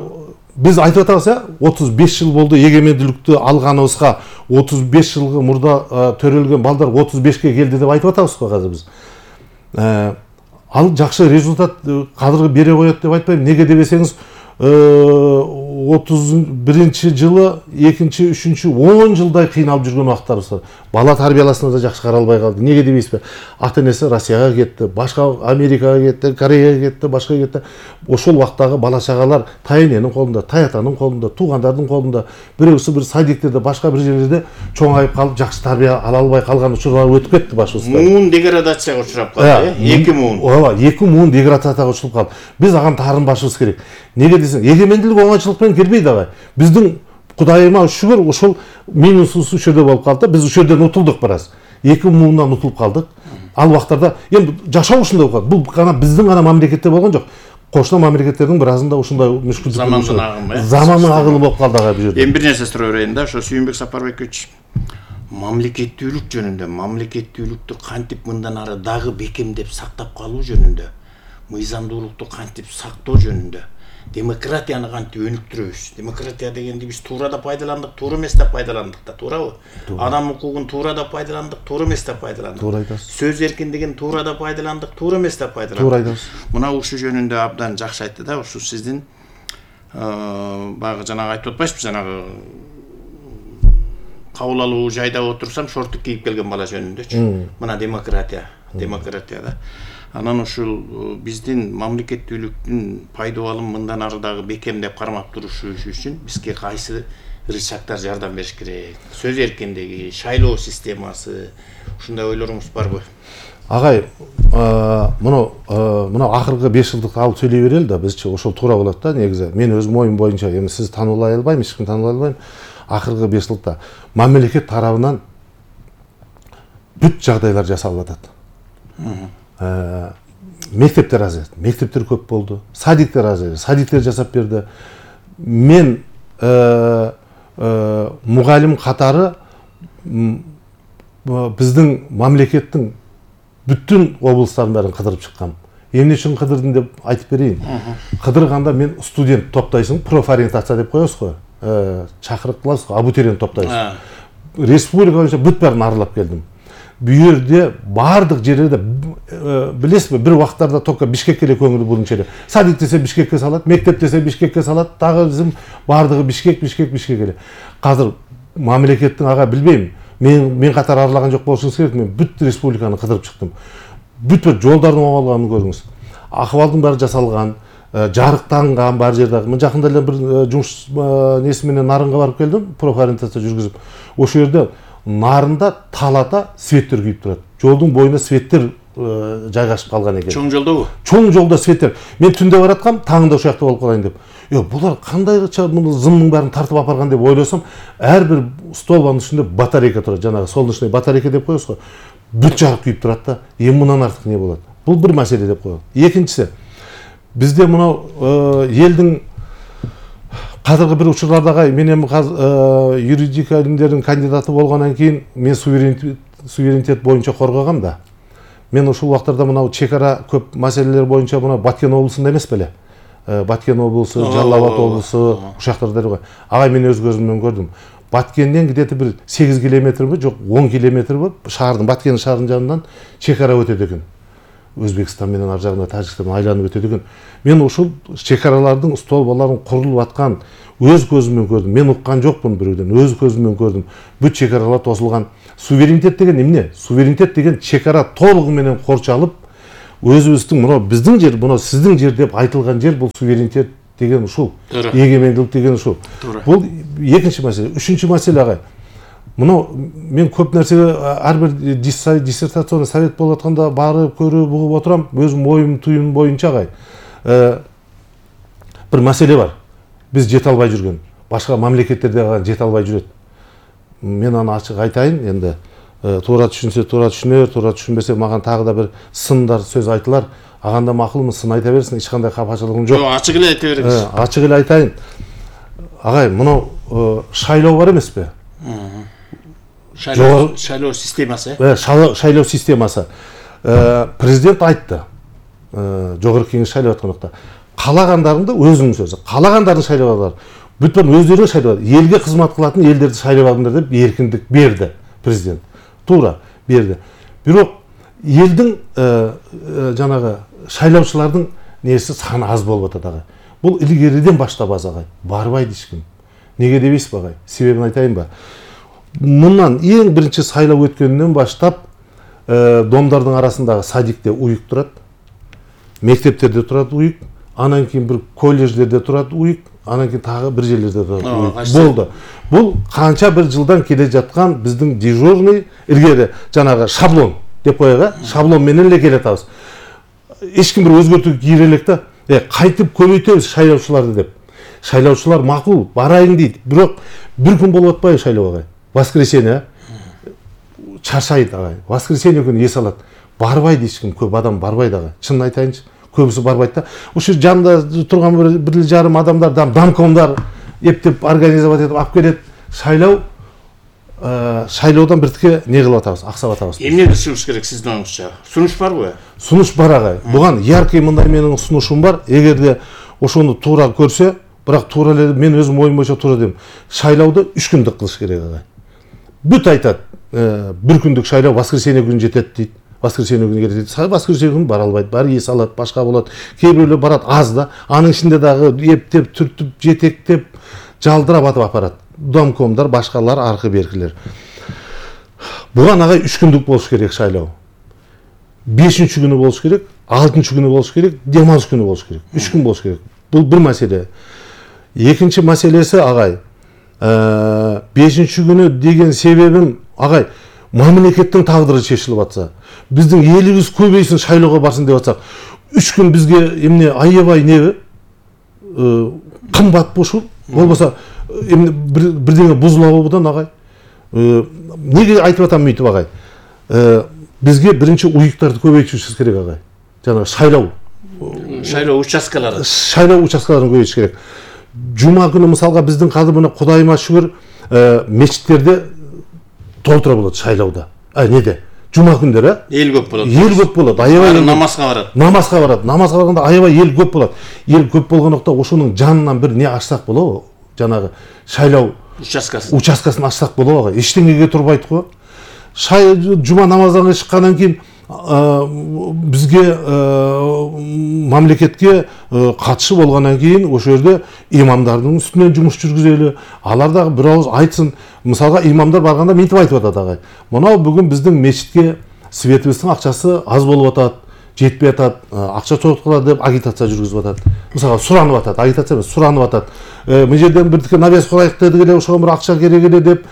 биз айтып атабыз, 35 жыл болду эгемендүүлүктү алганыбызга, 35 жылгы мурда төрөлгөн балдар 35ке келди деп айтып атабыз го азыр биз. Ал жакшы результат кадыргы бере коет деп айтпайм. Неге дебесеңиз, 31 жылы, 2-чи, 3-чү 10 жылдай кыйналып жүргөн убактарыбыз бар. Бала тарбияласына да жакшы каралбай калды. Неге дебейсизби? Ата-энеси Россияга кетти, башка Америкага кетти, Кореяга кетти, башка кетти. Ошол убактагы бала чагалар тайэненин колунда, таятанын колунда, туугандардын колунда, бирөөсү бир садиктерде, башка бир жерлерде чоңайып калып, жакшы тарбия ала албай калган учурлар өтүп кетти башыбызга. Муун деградацияга учурап калды, 2 муун. Ооба, 2 муун деградацияга учуруп калды. Биз аган таарынбашыбыз керек. Неге десең, эгемендүүлүк оңайчылык менен келбейт агай. Биздин Кудайыма шүгүр, ошол минусубуз ушул жерде болуп калды. Биз ушул жерден утулдук бараз. 2 муундан утулуп калдык. Ал убактарда эми жашоо ушундай болуп калды. Бул гана биздин гана мамлекетте болгон жок. Кошуна мамлекеттердин биразында ушундай мүшкүлдүк замандын агымы, замандын агымы болуп калды агай бул жерде. Эми бир нерсе сурап берейин да, ошо Сүйүнбек Сапарбекович, мамлекеттүүлүк жөнүндө, мамлекеттүүлүктү кантип мындан ары дагы бекемдеп сактап калуу жөнүндө, мыйзамдуулукту кантип сактоо жөнүндө, демократияны кантип өнүктүрөбүз? Демократия дегенди биз туура да пайдаландык, туура эмес да пайдаландык да, туурабы? Адам укугун туура да пайдаландык, туура эмес да пайдаландык. Туура айтасыз. Сөз эркиндигин туура да пайдаландык, туура эмес да пайдаландык. Туура айтасыз. Мына ушул жөнүндө абдан жакшы айтты да, ушу сиздин баягы жанагы айтып атпайсызбы, жанагы кабыл алуу жайда отурсам шорттук кийип келген бала жөнүндөчү. Мына демократия да. Анан ушул биздин мамлекеттүүлүктүн пайдабалын мындан ары дагы бекемдеп кармап турушу үчүн бизге кайсы рычагдар жардам бериш керек? Сөз эркиндиги, шайлоо системасы, ушундай ойлоруңуз барбы? Агай, мына акыркы 5 жылдыкты алып сүйлөй берели да, бизчи ошол туура болот да негизи. Мен өзүм оюм боюнча, эми сиз таануулай албайм, эч ким таануулай албайм. Акыркы 5 жылдыкта мамлекет тарабынан бүт жагдайлар жасалып атат. Мектептер аз, мектептер көп болду. Садиктер аз, садиктер жасап берди. Мен мугалим катары биздин мамлекеттин бүттүн облустарын баарын кыдырып чыккам. Эмне үчүн кыдырдым деп айтып берейин. Кыдырганда мен студент топтайсың, профориентация деп коебуз го. Чакырып кылабыз го, абитуриент топтайсың. Республика боюнча бүт баарын аралап келдим. Бу жерде бардык жерлерде билесизби, бир убактарда только Бишкекке эле көңүл бурунчу эле. Садик десе Бишкекке салат, мектеп десе Бишкекке салат, дагы bizim бардыгы Бишкек эле. Азыр мамлекеттин ага билбейм. Мен катар аралаган жок болушуңуз керек. Мен бүт республиканы кыдырып чыктым. Бүт жолдордун оңолганын көрүңүз. Акыбалдын баары жасалган, жарыктанган бар жерде. Мен жакында эле бир жумуш неси менен Нарынга барып келдим, профориентация жүргүзүп. Ошол жерде Нарында талата светтер күйүп турат. Жолдун боюна светтер жайгашып калган экен. Чоң жолдобу? Чоң жолдо светтер. Мен түндө бараткам, таңында ошол жакта болуп калайын деп. Булар кандайча муну зымдын баарын тартып апарган деп ойлосом, ар бир столбанын үстүндө батарейка турат. Жанагы солнечный батарейка деп коебуз го. Бүт жагы күйүп турат да. Эми мындан артык не болот? Бул бир маселе деп коелу. Экинчиси, бизде мына элдин кадыргы бир учурлардагы мен эми юридика илимдеринин кандидаты болгондон кийин мен суверенитет боюнча коргогом да. Мен ушул убактарда мына чек ара көп маселелер боюнча мына Баткен облусунда эмес беле? Баткен облусу, Жалал Абад облусу, ушул жактарда го. Агай мен өз көзүм менен көрдүм. Баткенден где-то бир 8 километрби, жок 10 километр болуп, шаардын Баткен шаарынын жанынан чекара өтөт экен. Өзбекстан менен ар жагында Тажикстан айланып өтөт экен. Мен ушул чекаралардын столбаларын курулуп аткан өз көзүмөн көрдүм. Мен уккан жокмун бирөөдөн, өз көзүмөн көрдүм. Бүт чекаралар тосулган. Суверенитет деген эмне? Суверенитет деген чекара толугу менен корчалып, өзүбүздүн мына биздин жер, мына сиздин жер деп айтылган жер, бул суверенитет деген ушул. Эгемендүүлүк деген ушул. Бул экинчи маселе. Үчүнчү маселе агай. Мына мен көп нерсеге ар бир диссертационный совет болуп атканда барып көрүп угуп отурам, өзүм оюм туюм боюнча агай. Бир маселе бар. Биз жете албай жүргөн. Башка мамлекеттерде жете албай жүрөт. Мен аны ачык айтайын, энди туура түшүнсө туура түшүнөр, туура түшүнбөсө маган тагы да бир сындар сөз айтылар. Аганда макулмун, сын айта берсин, эч кандай капачылыгым жок. Ачык эле айта бериңиз. Ачык эле айтайын. Агай, мына шайлоо бар эмеспи? Шайлоо системасы. Шайлоо системасы. Президент айтты. Жогорку кеңеш шайлап атканда каалагандарыңды өзүңүн сөзү. Каалагандарын шайлап алыңдар. Бүт өздөрү шайлап, элге кызмат кылатын элдерди шайлап алыңдар деп эркиндик берди президент. Туура берди. Бирок элдин жанагы шайлоочулардын нерси саны аз болуп атат агай. Бул илгериден баштап аз агай. Барбайт эчким. Неге дебейсизби агай? Себебин айтайынбы? Мындан эң биринчи сайлап өткөндөн баштап домдордун арасындагы садикте уюк турат. Мектептерде турат уюк. Анан кийин бир колледждерде турат уюк. Анан кийин тагы бир жерлерде турат уюк. Болду. Бул канча бир жылдан келе жаткан биздин дежурный илгери жанагы шаблон деп коелу, шаблон менен эле келе атабыз. Эч ким бир өзгөртүү кийире элек да, кайтып көбөйтөбүз шайлоочуларды деп. Шайлоочулар макул, барайын дейт. Бирок бир күн болуп атпайбы шайлоого? Воскресенье чарчайт агай. Воскресенье күнү эс алат. Барбайт эч ким, көп адам барбайт агай. Чынын айтайынчы, көбүсү барбайт да. Ушул жанында турган бир жарым адамдар, домкомдар эптеп организовать этип алып келет. Шайлоодон биртике не кылып атабыз, аксап атабыз. Эмнеди сунуш керек сиздин оюңузча? Сунуш барбы? Сунуш бар агай. Буган яркий мындай менин сунушум бар. Эгерде ошону туура көрсө, бирок туура эле мен өзүм оюм боюнча туура дейм. Шайлоодо 3 күндүк кылыш керек агай. Бүт айтат, бир күндүк шайлоо воскресенье күнү жетет дейт. Воскресенье күнү келет дейт. Воскресенье күнү бара албайт. Баары эс алат, башка болот. Кээ бирөөлөр барат аз да. Анын ичинде дагы эптеп, түртүп, жетектеп, жалдырап атып апарат. Домкомдар, башкалар, аркы беркилер. Буган агай 3 күндүк болуш керек шайлоо. 5-нчи күнү болуш керек, 6-нчы күнү болуш керек, дем алыш күнү болуш керек. 3 күн болуш керек. Бул бир маселе. Экинчи маселеси агай, 5-нчи күнү деген себебим агай, мамлекеттин тагдыры чечилип атса, биздин элибиз көбөйсүн шайлоого барсын деп атсак, 3 күн бизге эмне аябай неби? Кымбат ушул. Болбосо эмне бирдеңе бузулабы будан агай? Неге айтып атам мынтип агай? Бизге биринчи уюктарды көбөйтүшүбүз керек агай. Жана шайлоо участкаларын. Шайлоо участкаларын көбөйтүш керек. Жума күнү мисалга биздин казыр мына Кудайыма шүгүр мечиттерде толтура болот шайлоодо. Неде? Жума күндөрү эл көп болот. Эл көп болот. Аябай намазга барат. Намазга барат. Намазга барганда аябай эл көп болот. Эл көп болгондукта ошонун жанынан бир не ачсак болобу? Жанагы шайлоо участкасын ачсак болобу? Эчтеңеге турбайт го. Жума намаздан чыккандан кийин бизге мамлекетке катышы болгондон кийин ошол жерде имамдардын үстүнөн жумуш жүргүзөлү. Алар дагы бир ауыз айтсын. Мисалга имамдар барганда мынтип айтып атат агай. Мына бүгүн биздин мечитке светибиздин акчасы аз болуп атат, жетпей атат, акча чогулткула деп агитация жүргүзүп атат. Мисалга суранып атат, агитация эмес, суранып атат. Мына жерден бирдике навес курайык дедик эле, ошого бир акча керек эле деп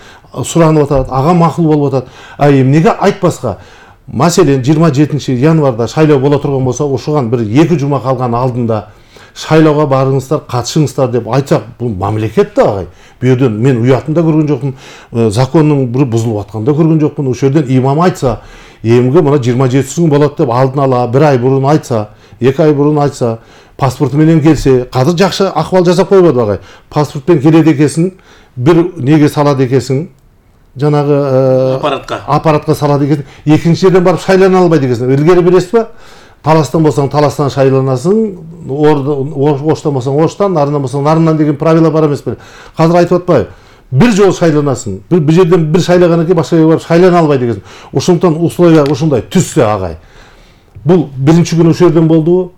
суранып атат. Ага макул болуп атат. Эмнеге айтпаска? Маселен 27 январда шайлоо боло турган болсо, ошоган бир 2 жума калган алдында шайлоого барыңыздар, катышыңыздар деп айтсак, бул мамлекет да агай. Бу жерден мен уятында көргөн жокмун, закондун бир бузулуп атканда көргөн жокмун. Ошол жерден имам айтса, эмге мына 27 күн болот деп алдын ала 1 ай бурун айтса, 2 ай бурун айтса, паспорту менен келсе, казыр жакшы акыбал жасап койбоду агай. Паспортпен келет экенсиң, бир неге салат экенсиң, жанагы аппаратка салат экенсиң, экинчи жерден барып шайлана албайт экенсиң. Илгери билесизби? Таластан болсаң таластан шайланасың, Оштан болсаң Оштан, нарындан болсаң нарындан деген правила бар эмеспи? Казыр айтып атпайбы? бир жолу шайланасын. Бир жерден бир шайлагандан кийин башка жерге барып шайлана албайт экенсиң. Ошондуктан ушундай түзсө агай. Бул биринчи күнү ошол жерден болду.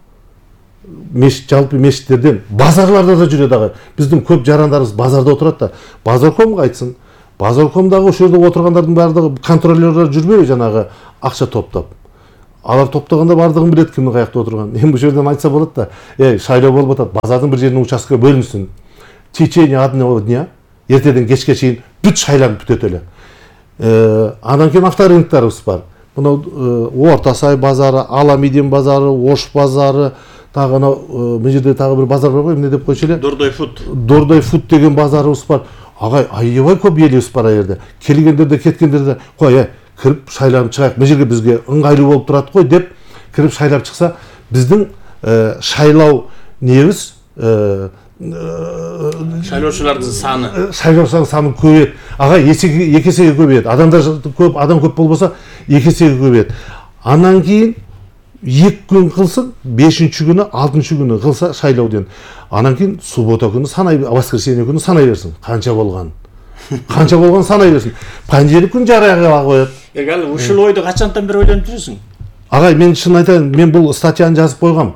Жалпы мешиттерден базарларда да жүрөт агай. Биздин көп жарандарыбыз базарда отурат да. Базаркомго айтсын. Базаркомдагы ошол жерде отургандардын баардыгы контролёрлор жүрбөйбү жанагы акча топтоп. Алар топтогондо баардыгын билет кимдин каякта отурганын. Эми бул жерден айтса болот да. Шайлоо болуп атат. Базардын бир жерине участка бөлүнсүн. В течение одного дня, эртеден кечке чейин бүт шайланып бүтөт эле. Андан кийин авторынктарыбыз бар. Мына Орто Сай базары, Аламидин базары, Ош базары, тагы мына жерде тагы бир базар бар го, эмне деп койчу эле? Дордой фуд деген базарыбыз бар. Агай, аябай көп элибиз бар жерде. Келгендерде, кеткендерде, кой, кирип шайланып чыгайык. Бул жерге бизге ыңгайлуу болуп турат го деп кирип шайлап чыкса, биздин шайлоо небиз шайлоочулардын саны көбөйөт. Ага эки эсеге көбөйөт. Адам көп болбосо эки эсеге көбөйөт. Андан кийин 2 күн кылсын, 5-нчи күнү, 6-нчы күнү кылса шайлоодон. Андан кийин суббота күнү санай, воскресенье күнү санай берсин. Канча болгон санай берсин. Понедельник күнү жарыяга коет. Ал ушул ойду качантан бери ойлонуп жүрөсүң? Агай, мен чын айтайын, мен бул статьяны жазып койгом.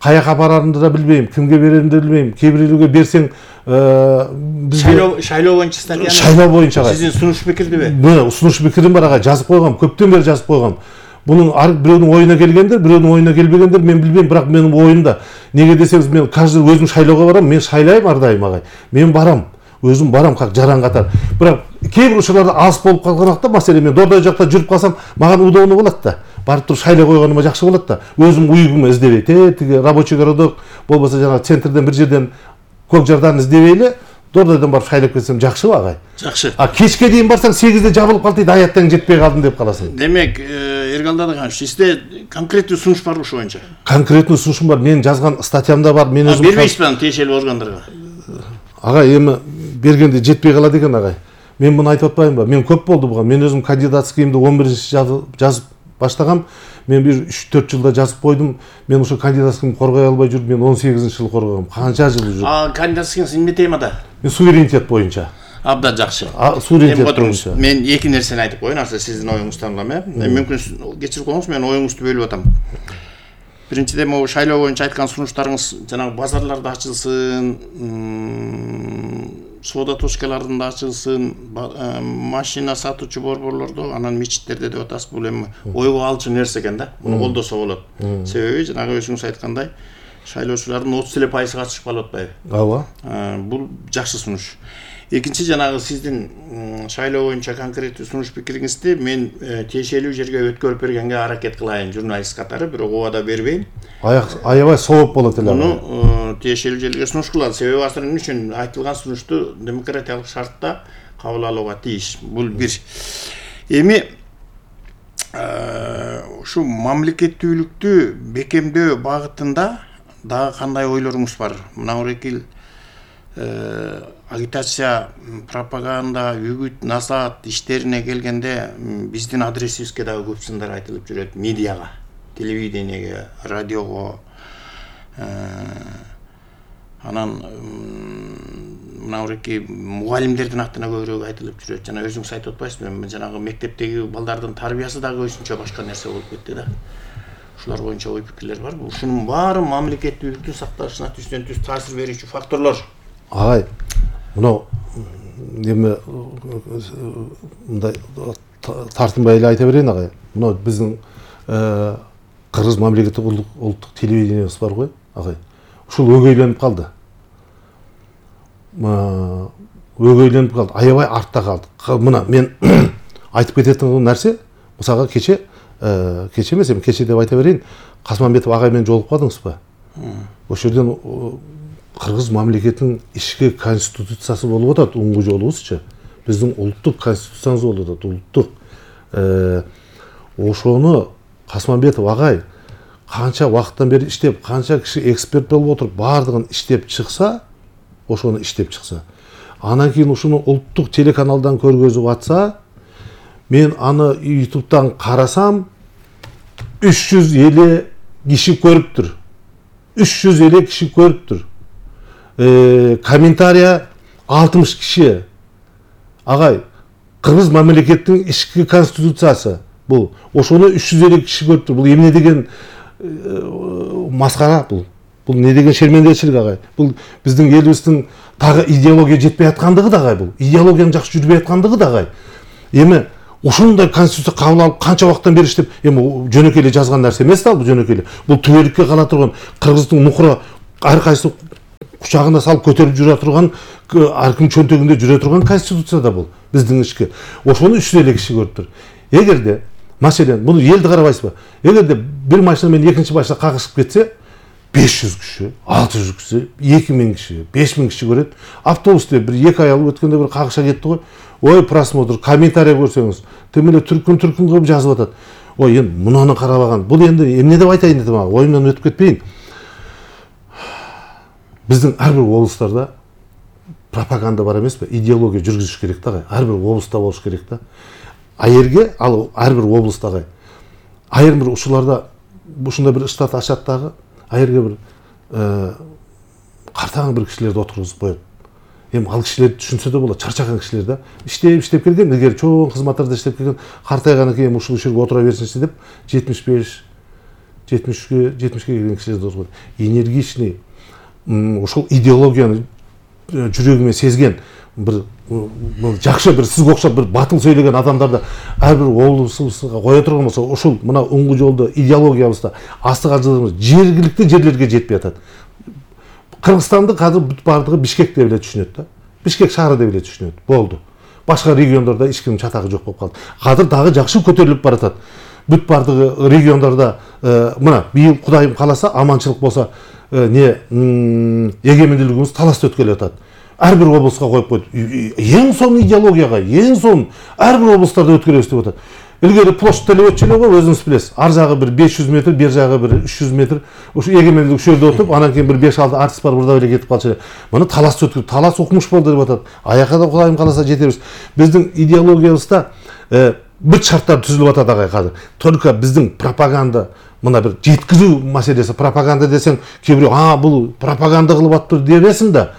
Каяка барарымды да билбейм, кимге береримди билбейм. Кээ бирөөгө берсең, шайлоо боюнча статьяны. Шайлоо боюнча агай. Сиздин сунуш пикирдиби? Мына сунуш пикирим бар агай, жазып койгом, көптөн бери жазып койгом. Бунун бирөөнүн оюна келгендер, бирөөнүн оюна келбегендер мен билбейм, бирок менин оюмда. Неге десеңиз, мен каждый өзүм шайлоого барам, мен шайлайм ар дайым агай. Мен барам, өзүм барам как жаран катар. Бирок кээ бир учурларда алыс болуп калганакта, маселен мен Дордой жакта жүрүп калсам, мага удобный болот да. Барып туруп шайлоо койгонума жакшы болот да. Өзүм уйгума издебей, тиги рабочий городок болбосо жана центрден бир жерден Көк Жардан издебей эле Дордойдон барып шайлап кетсем жакшыбы агай? Жакшы. Кечке дейин барсаң 8-де жабылып калды, аяттан жетпей калдым деп каласың. Демек, Эргалда Даганович, сизде конкреттүү сунуш бар ушул боюнча? Конкреттүү сунушум бар. Мен жазган статьямда бар. Мен өзүм бербейсизби тиешелүү органдарга? Агай, эми бергенде жетпей калат экен агай. Мен муну айтып атпаймынбы? Мен көп болду буга. Мен өзүм кандидатскийимди 11-нчи жазып баштагам. Мен бир 3-4 жылда жазып койдум. Мен ошо кандидатскийимди коргой албай жүрүп, мен 18-нчы жылы коргогом. Канча жыл жүрүп. Кандидатскийиңиз эмне темада? Мен суверенитет боюнча. Абдан жакшы. Суверенитет боюнча. Мен эки нерсени айтып коеюн, аса сиздин оюңуздан улам, мүмкүн кечирип коюңуз, мен оюңузду бөлүп атам. Биринчиден, могу шайлоо боюнча айткан сунуштарыңыз жанагы базарларда ачылсын, соода точкалардын да ачылсын, машина сатуучу борборлордо, анан мечиттерде деп атасыз. Бул эми ойго алчу нерсе экен да. Муну колдосо болот. Себеби жанагы өзүңүз айткандай, шайлоочулардын 30% катышып калып атпайбы? Ооба. Бул жакшы сунуш. Экинчи, жанагы сиздин шайлоо боюнча конкреттүү сунуш пикириңизди мен тиешелүү жерге өткөрүп бергенге аракет кылайын журналист катары, бирок убада бербейм. Аябай сооп болот эле. Муну тиешелүү жерге сунуш кылалы. Себеби азыр эмне үчүн айтылган сунушту демократиялык шартта кабыл алууга тийиш. Бул бир. Эми ушу мамлекеттүүлүктү бекемдөө багытында дагы кандай ойлоруңуз бар? Мына Орекил агитация, пропаганда, үгүт, насаат иштерине келгенде биздин адресибизге дагы көп сындар айтылып жүрөт. Медиага, телевидениеге, радиого. Анан мына Ореки мугалимдердин аттына көбүрөөк айтылып жүрөт. Жана өзүңүз айтып атпайсызбы? Жанагы мектептеги балдардын тарбиясы дагы өзүнчө башка нерсе болуп кетти да. Ушулар боюнча ой пикирлер бар. Ушунун баары мамлекеттүүлүктүн сакталышына түздөн түз таасир берүүчү факторлор. Агай, мына эми мындай тартынбай эле айта берейин агай. Мына биздин Кыргыз мамлекеттик улуттук телевидениебиз бар го, агай. Ушул өгөйлөнүп калды. Өгөйлөнүп калды. Аябай артта калды. Мына мен айтып кететін нәрсе, мисалга кече эмес, эми кече деп айта берейин. Касманбетов агай менен жолугуп калдыңызбы? Ошол жерден Кыргыз мамлекетинин ички конституциясы болуп атат, уңгу жолубузчу. Биздин улуттук конституциябыз болуп атат, улуттук. Ошону Касманбетов агай канча убакыттан бери иштеп, канча киши эксперт болуп отуруп, баардыгын иштеп чыкса, ошону иштеп чыкса. Анан кийин ушуну улуттук телеканалдан көргөзүп атса, мен аны YouTube'дан карасам 350 киши көрүптүр. 350 киши көрүптүр. Комментария 60 киши. агай, кыргыз мамлекеттин ички конституциясы бул ошону 350 киши көрүптүр. Бул эмне деген маскара бул? Бул не деген шермендечилик агай? Бул биздин элибиздин тагы идеология жетпей аткандыгы да агай бул. Идеологиянын жакшы жүрбөй аткандыгы да агай. Эми ушундай конституция кабыл алып канча убакыттан бери иштеп, эми жөнөкөй эле жазган нерсе эмес да бул жөнөкөй эле. Бул түбөлүккө кала турган кыргыздын нукура ар кайсы кучагына салып көтөрүп жүрө турган, ар ким чөнтөгүндө жүрө турган конституция да бул биздин ички. Ошону 350 киши көрүптүр. Эгерде маселен муну элди карабайсызбы? Эгерде бир машина менен экинчи машина кагышып кетсе, 500 киши, 600 киши, 2000 киши, 5000 киши көрөт. Автобусте бир 2 ай алып өткөндө бир кагыша кетти го. Ой, просмотр, комментарий көрсөңүз, тем эле түркүн кылып жазып атат. Ой, эми мунуну карабаган. Бул энди эмне деп айтайын дедим ага, оюмдан өтүп кетпейин. Биздин ар бир облустарда пропаганда бар эмеспи? Идеология жүргүзүш керек да агай. Ар бир облуста болуш керек да. Айерге ал ар бир облуста агай. Айыр бир ушуларда ушундай бир штат ачат дагы, айерге бир картаң бир кишилерди отургузуп коет. Эми ал кишилер түшүнсө да болот, чарчаган кишилер да. Иштеп келген, эгер чоң кызматтарда иштеп келген, картайгандан кийин ушул жерге отура берсинчи деп 75, 70ке келген кишилерди отургузуп. Энергичный, ушул идеологияны жүрөгүмө сезген бир жакшы бир сизге окшоп бир батыл сөйлөгөн адамдарды ар бир облусубузга кое турган болсо, ушул мына оңгу жолдо идеологиябызда астыга жылдырмыз жергиликтүү жерлерге жетпей атат. Кыргызстанды азыр бүт бардыгы Бишкек деп эле түшүнөт да. Бишкек шаары деп эле түшүнөт. Болду. Башка региондордо эч кимдин чатагы жок болуп калды. Азыр дагы жакшы көтөрүлүп баратат. Бүт бардыгы региондордо мына быйыл Кудайым кааласа, аманчылык болсо, эгемендүүлүгүбүз таласта өткөлүп атат. Ар бир облуска коюп койду. Эң сонун идеологияга, эң сонун ар бир облустарда өткөрөбүз деп атат. Илгери площадь делеп өтчү эле го, өзүңүз билесиз. Ар жагы бир 500 метр, бер жагы бир 300 метр. Ушу эгемендүүлүк ошол жерде отуруп, анан кийин бир 5-6 артист бар бурда эле кетип калчу эле. Муну талас өткөрүп, талас укмуш болду деп атат. Аяка да Кудайым кааласа жетебиз. Биздин идеологиябызда бүт шарттар түзүлүп атат агай азыр. Только биздин пропаганда мына бир жеткизүү маселеси. Пропаганда десең, кээ бирөө бул пропаганда кылып атыптыр дебесин да.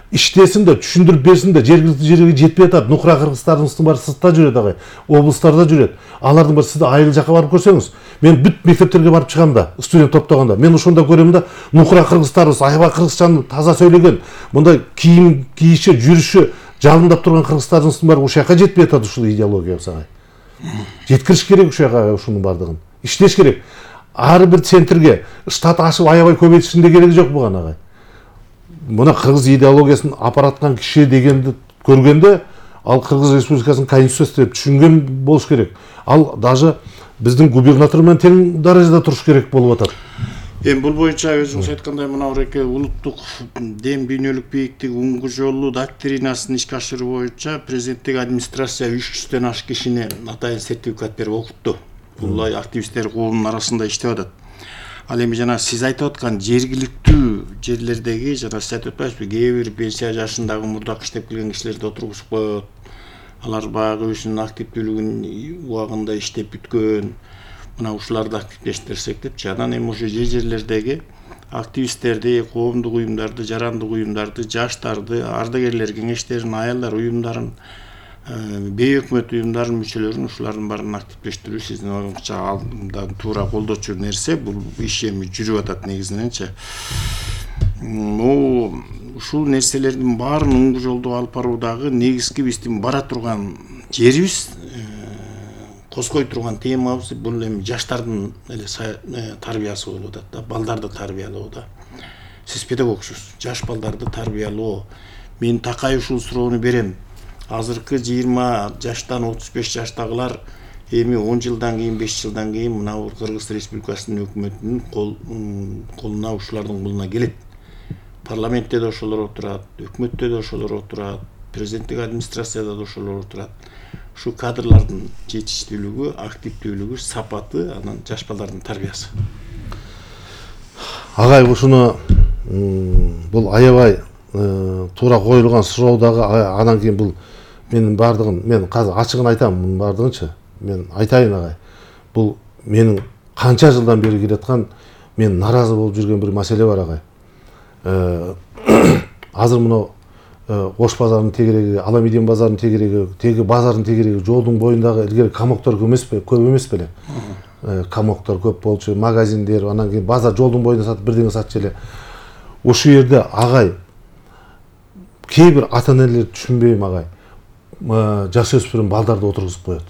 Иштесин да, түшүндүрүп берсин да, жергиликтүү жерге жетпей атат. Нукура кыргыздарыбыздын баары сыртта жүрөт агай, облустарда жүрөт. Алардын баары сизде айыл жака барып көрсөңүз, мен бүт мектептерге барып чыгам да, студент топтогондо. Мен ошондо көрөм да, нукура кыргыздарыбыз аябай кыргызчаны таза сөйлөгөн, мындай кийим кийиши, жүрүшү жалындап турган кыргыздарыбыздын баары ушул жака жетпей атат ушул идеологиябыз агай. Жеткириш керек ушул жака ушунун баардыгын. Иштеш керек. Ар бир центрге штат ашып аябай көбөйтүштүн да кереги жок буга агай. Мына кыргыз идеологиясын апараткан киши дегенди көргөндө, ал Кыргыз Республикасынын конституциясы деп түшүнгөн болуш керек. Ал даже биздин губернатор менен тең даражада туруш керек болуп атат. Эми бул боюнча өзүңүз айткандай мына буреке улуттук дем дүйнөлүк бийиктик уңгу жолу доктринасын ишке ашыруу боюнча президенттик администрация 300дөн ашык кишини атайын сертификат берип окутту. Бул активисттер клубунун арасында иштеп атат. Ал эми жана сиз айтып аткан жергиликтүү жерлердеги жана сиз айтып атпайсызбы, кээ бир пенсия жашындагы мурдак иштеп келген кишилерди отургузуп коет. Алар баягы өзүнүн активдүүлүгүн убагында иштеп бүткөн. Мына ушуларды активдештирсек депчи. Анан эми ошо жерлердеги активисттерди, коомдук уюмдарды, жарандык уюмдарды, жаштарды, ардагерлер кеңештерин, аялдар уюмдарын, бейөкмөт уюмдардын мүчөлөрүн ушулардын баарын активдештирүү сиздин оюңузча алдан туура колдочу нерсе. Бул иш эми жүрүп атат негизиненчи. Ушул нерселердин баарын оңгу жолдо алып баруудагы негизги биздин бара турган жерибиз, козгой турган темабыз бул эми жаштардын эле тарбиясы болуп атат да, балдарды тарбиялоо да. Сиз педагогсуз, жаш балдарды тарбиялоо. Мен такай ушул суроону берем. Азыркы 20 жаштан 35 жаштагылар эми 10 жылдан кийин, 5 жылдан кийин мына Кыргыз Республикасынын өкмөтүнүн колуна ушулардын колуна келет. Парламентте да ошолор отурат, өкмөттө да ошолор отурат, президенттик администрацияда да ошолор отурат. Ушу кадрлардын жетиштүүлүгү, активдүүлүгү, сапаты, анан жаш балдардын тарбиясы. Агай ушуну бул аябай туура коюлган суроо дагы, анан кийин бул менин бардыгын, мен азыр ачыгын айтам, мунун бардыгынчы. Мен айтайын агай. Бул менин канча жылдан бери келаткан, мен наразы болуп жүргөн бир маселе бар агай. Азыр мына Ош базарынын тегереги, Аламедин базарынын тегереги, теги базардын тегереги, жолдун боюндагы илгери камоктор көп эмес беле. Камоктор көп болчу, магазиндер, анан кийин базар жолдун боюнда сатып бирдеме сатчу эле. Ошол жерде агай кээ бир ата-энелер түшүнбөйм агай. Жаш өспүрүм балдарды отургузуп коет.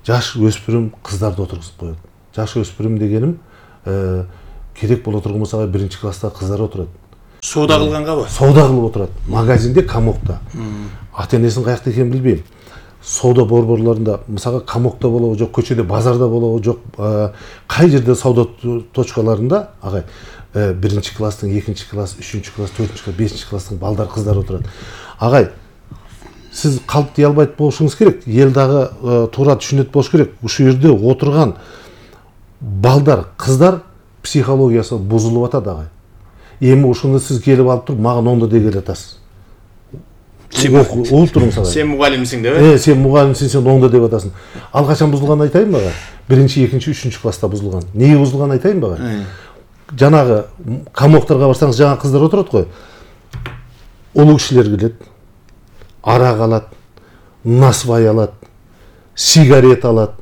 Жаш өспүрүм кыздарды отургузуп коет. Жаш өспүрүм дегеним керек боло турган болсо биринчи класста кыздар отурат. Соода кылгангабы? Соода кылып отурат. Магазинде, камокто. Ата-энесин каякта экенин билбейм. Соода борборлорунда, мисалга камокто болобу, жок көчөдө, базарда болобу, жок кай жерде соода точкаларында агай биринчи класстын, экинчи класс, үчүнчү класс, төртүнчү класс, бешинчи класстын балдар, кыздар отурат. Агай, сиз калп дей албайт болушуңуз керек. Эл дагы туура түшүнөт болуш керек. Ушул жерде отурган балдар, кыздар психологиясы бузулуп атат агай. Эми ошондо сиз келип алып туруп, мага оңдо деп атасыз. Угуп туруңуз агай. Сен мугалимсиң деп? Сен мугалимсиң, сен оңдо деп атасың. Ал качан бузулганын айтайынбы ага? Биринчи, экинчи, үчүнчү класста бузулган. Неге бузулганын айтайынбы ага? Жанагы камокторго барсаңыз, жаңа кыздар отурат го. Улуу кишилер келет, арак алат, насвай алат, сигарет алат.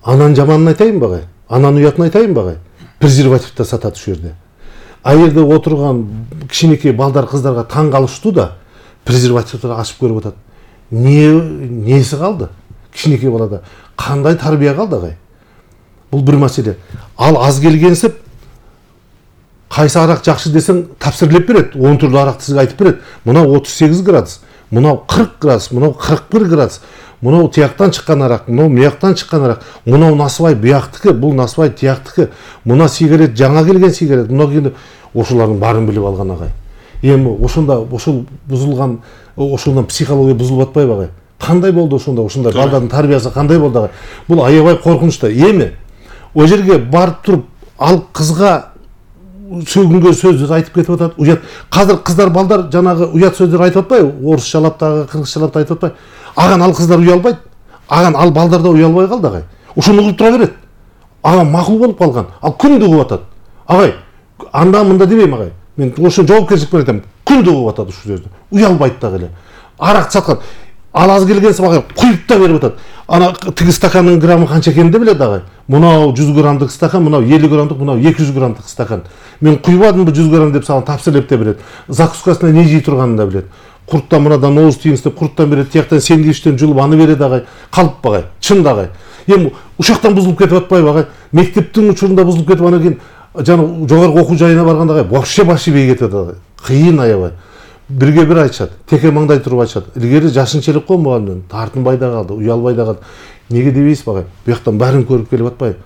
Анан жаманын айтайынбы ага? Анан уятын айтайынбы ага? Презервативди сатат ушул жерде. А жерде отурган кичинекей балдар, кыздарга таң калыштуу да, презервативди ачып көрүп атат. Неси калды? Кичинекей балада кандай тарбия калды агай? Бул бир маселе. Ал аз келгенсип, кайсы арак жакшы десең тапсырылып берет. 10 түрлүү аракты сизге айтып берет. Мына 38 градус, мына 40 градус, мына 41 градус. Мына тияктан чыккан арак, мына мыяктан чыккан арак. Мына насвай бияктыкы, бул насвай тияктыкы. Мына сигарет жаңа келген сигарет. Мына кийин ошолордун баарын билип алган агай. Эми ошондо ошол бузулган, ошондон психология бузулуп атпайбы агай? Кандай болду ошондо? Ошондой балдардын тарбиясы кандай болду агай? Бул аябай коркунучта. Эми о жерге барып туруп, ал кызга сөгүнгөн сөздү айтып кетип атат. Уят. Казыр кыздар, балдар жанагы уят сөздүр айтып атпайбы? Орусчалап дагы, кыргызчалап да айтып атпайбы? Аган ал кыздар уялбайт. Аган ал балдар да уялбай калды агай. Ошону угуп тура берет. Ага макул болуп калган. Ал күндү угуп атат. Агай, анда мында дебейм агай. Мен ошо жоопкерчилик менен айтам. Күндү угуп атат ушул сөздү. Уялбайт дагы эле. Арак саткан. Ал аз келгенсип агай куюп да берип атат. Ана тиги стакандын граммы канча экенин да билет агай. Мынау 100 граммдык стакан, мынау 50 граммдык, мынау 200 граммдык стакан. Мен куйбадымбы 100 грамм деп сага тапсырып да берет. Закускасына не жей турганын да билет. Курттан мынадан ооз тийиңиз деп курттан берет, тияктан сэндвичтен жулуп аны берет агай. Калп агай, чын да агай. Эми ушактан бузулуп кетип атпайбы агай? Мектептин учурунда бузулуп кетип, анан кийин жана жогорку окуу жайына барганда агай вообще башибей кетет агай. Кыйын аябай. Бирге бир айтышат, теке маңдай туруп айтышат. Илгери жашынчылык го мугалимден, тартынбай да калды, уялбай да калды. Неге дебейсизби агай? Буяктан баарын көрүп келип атпайбы?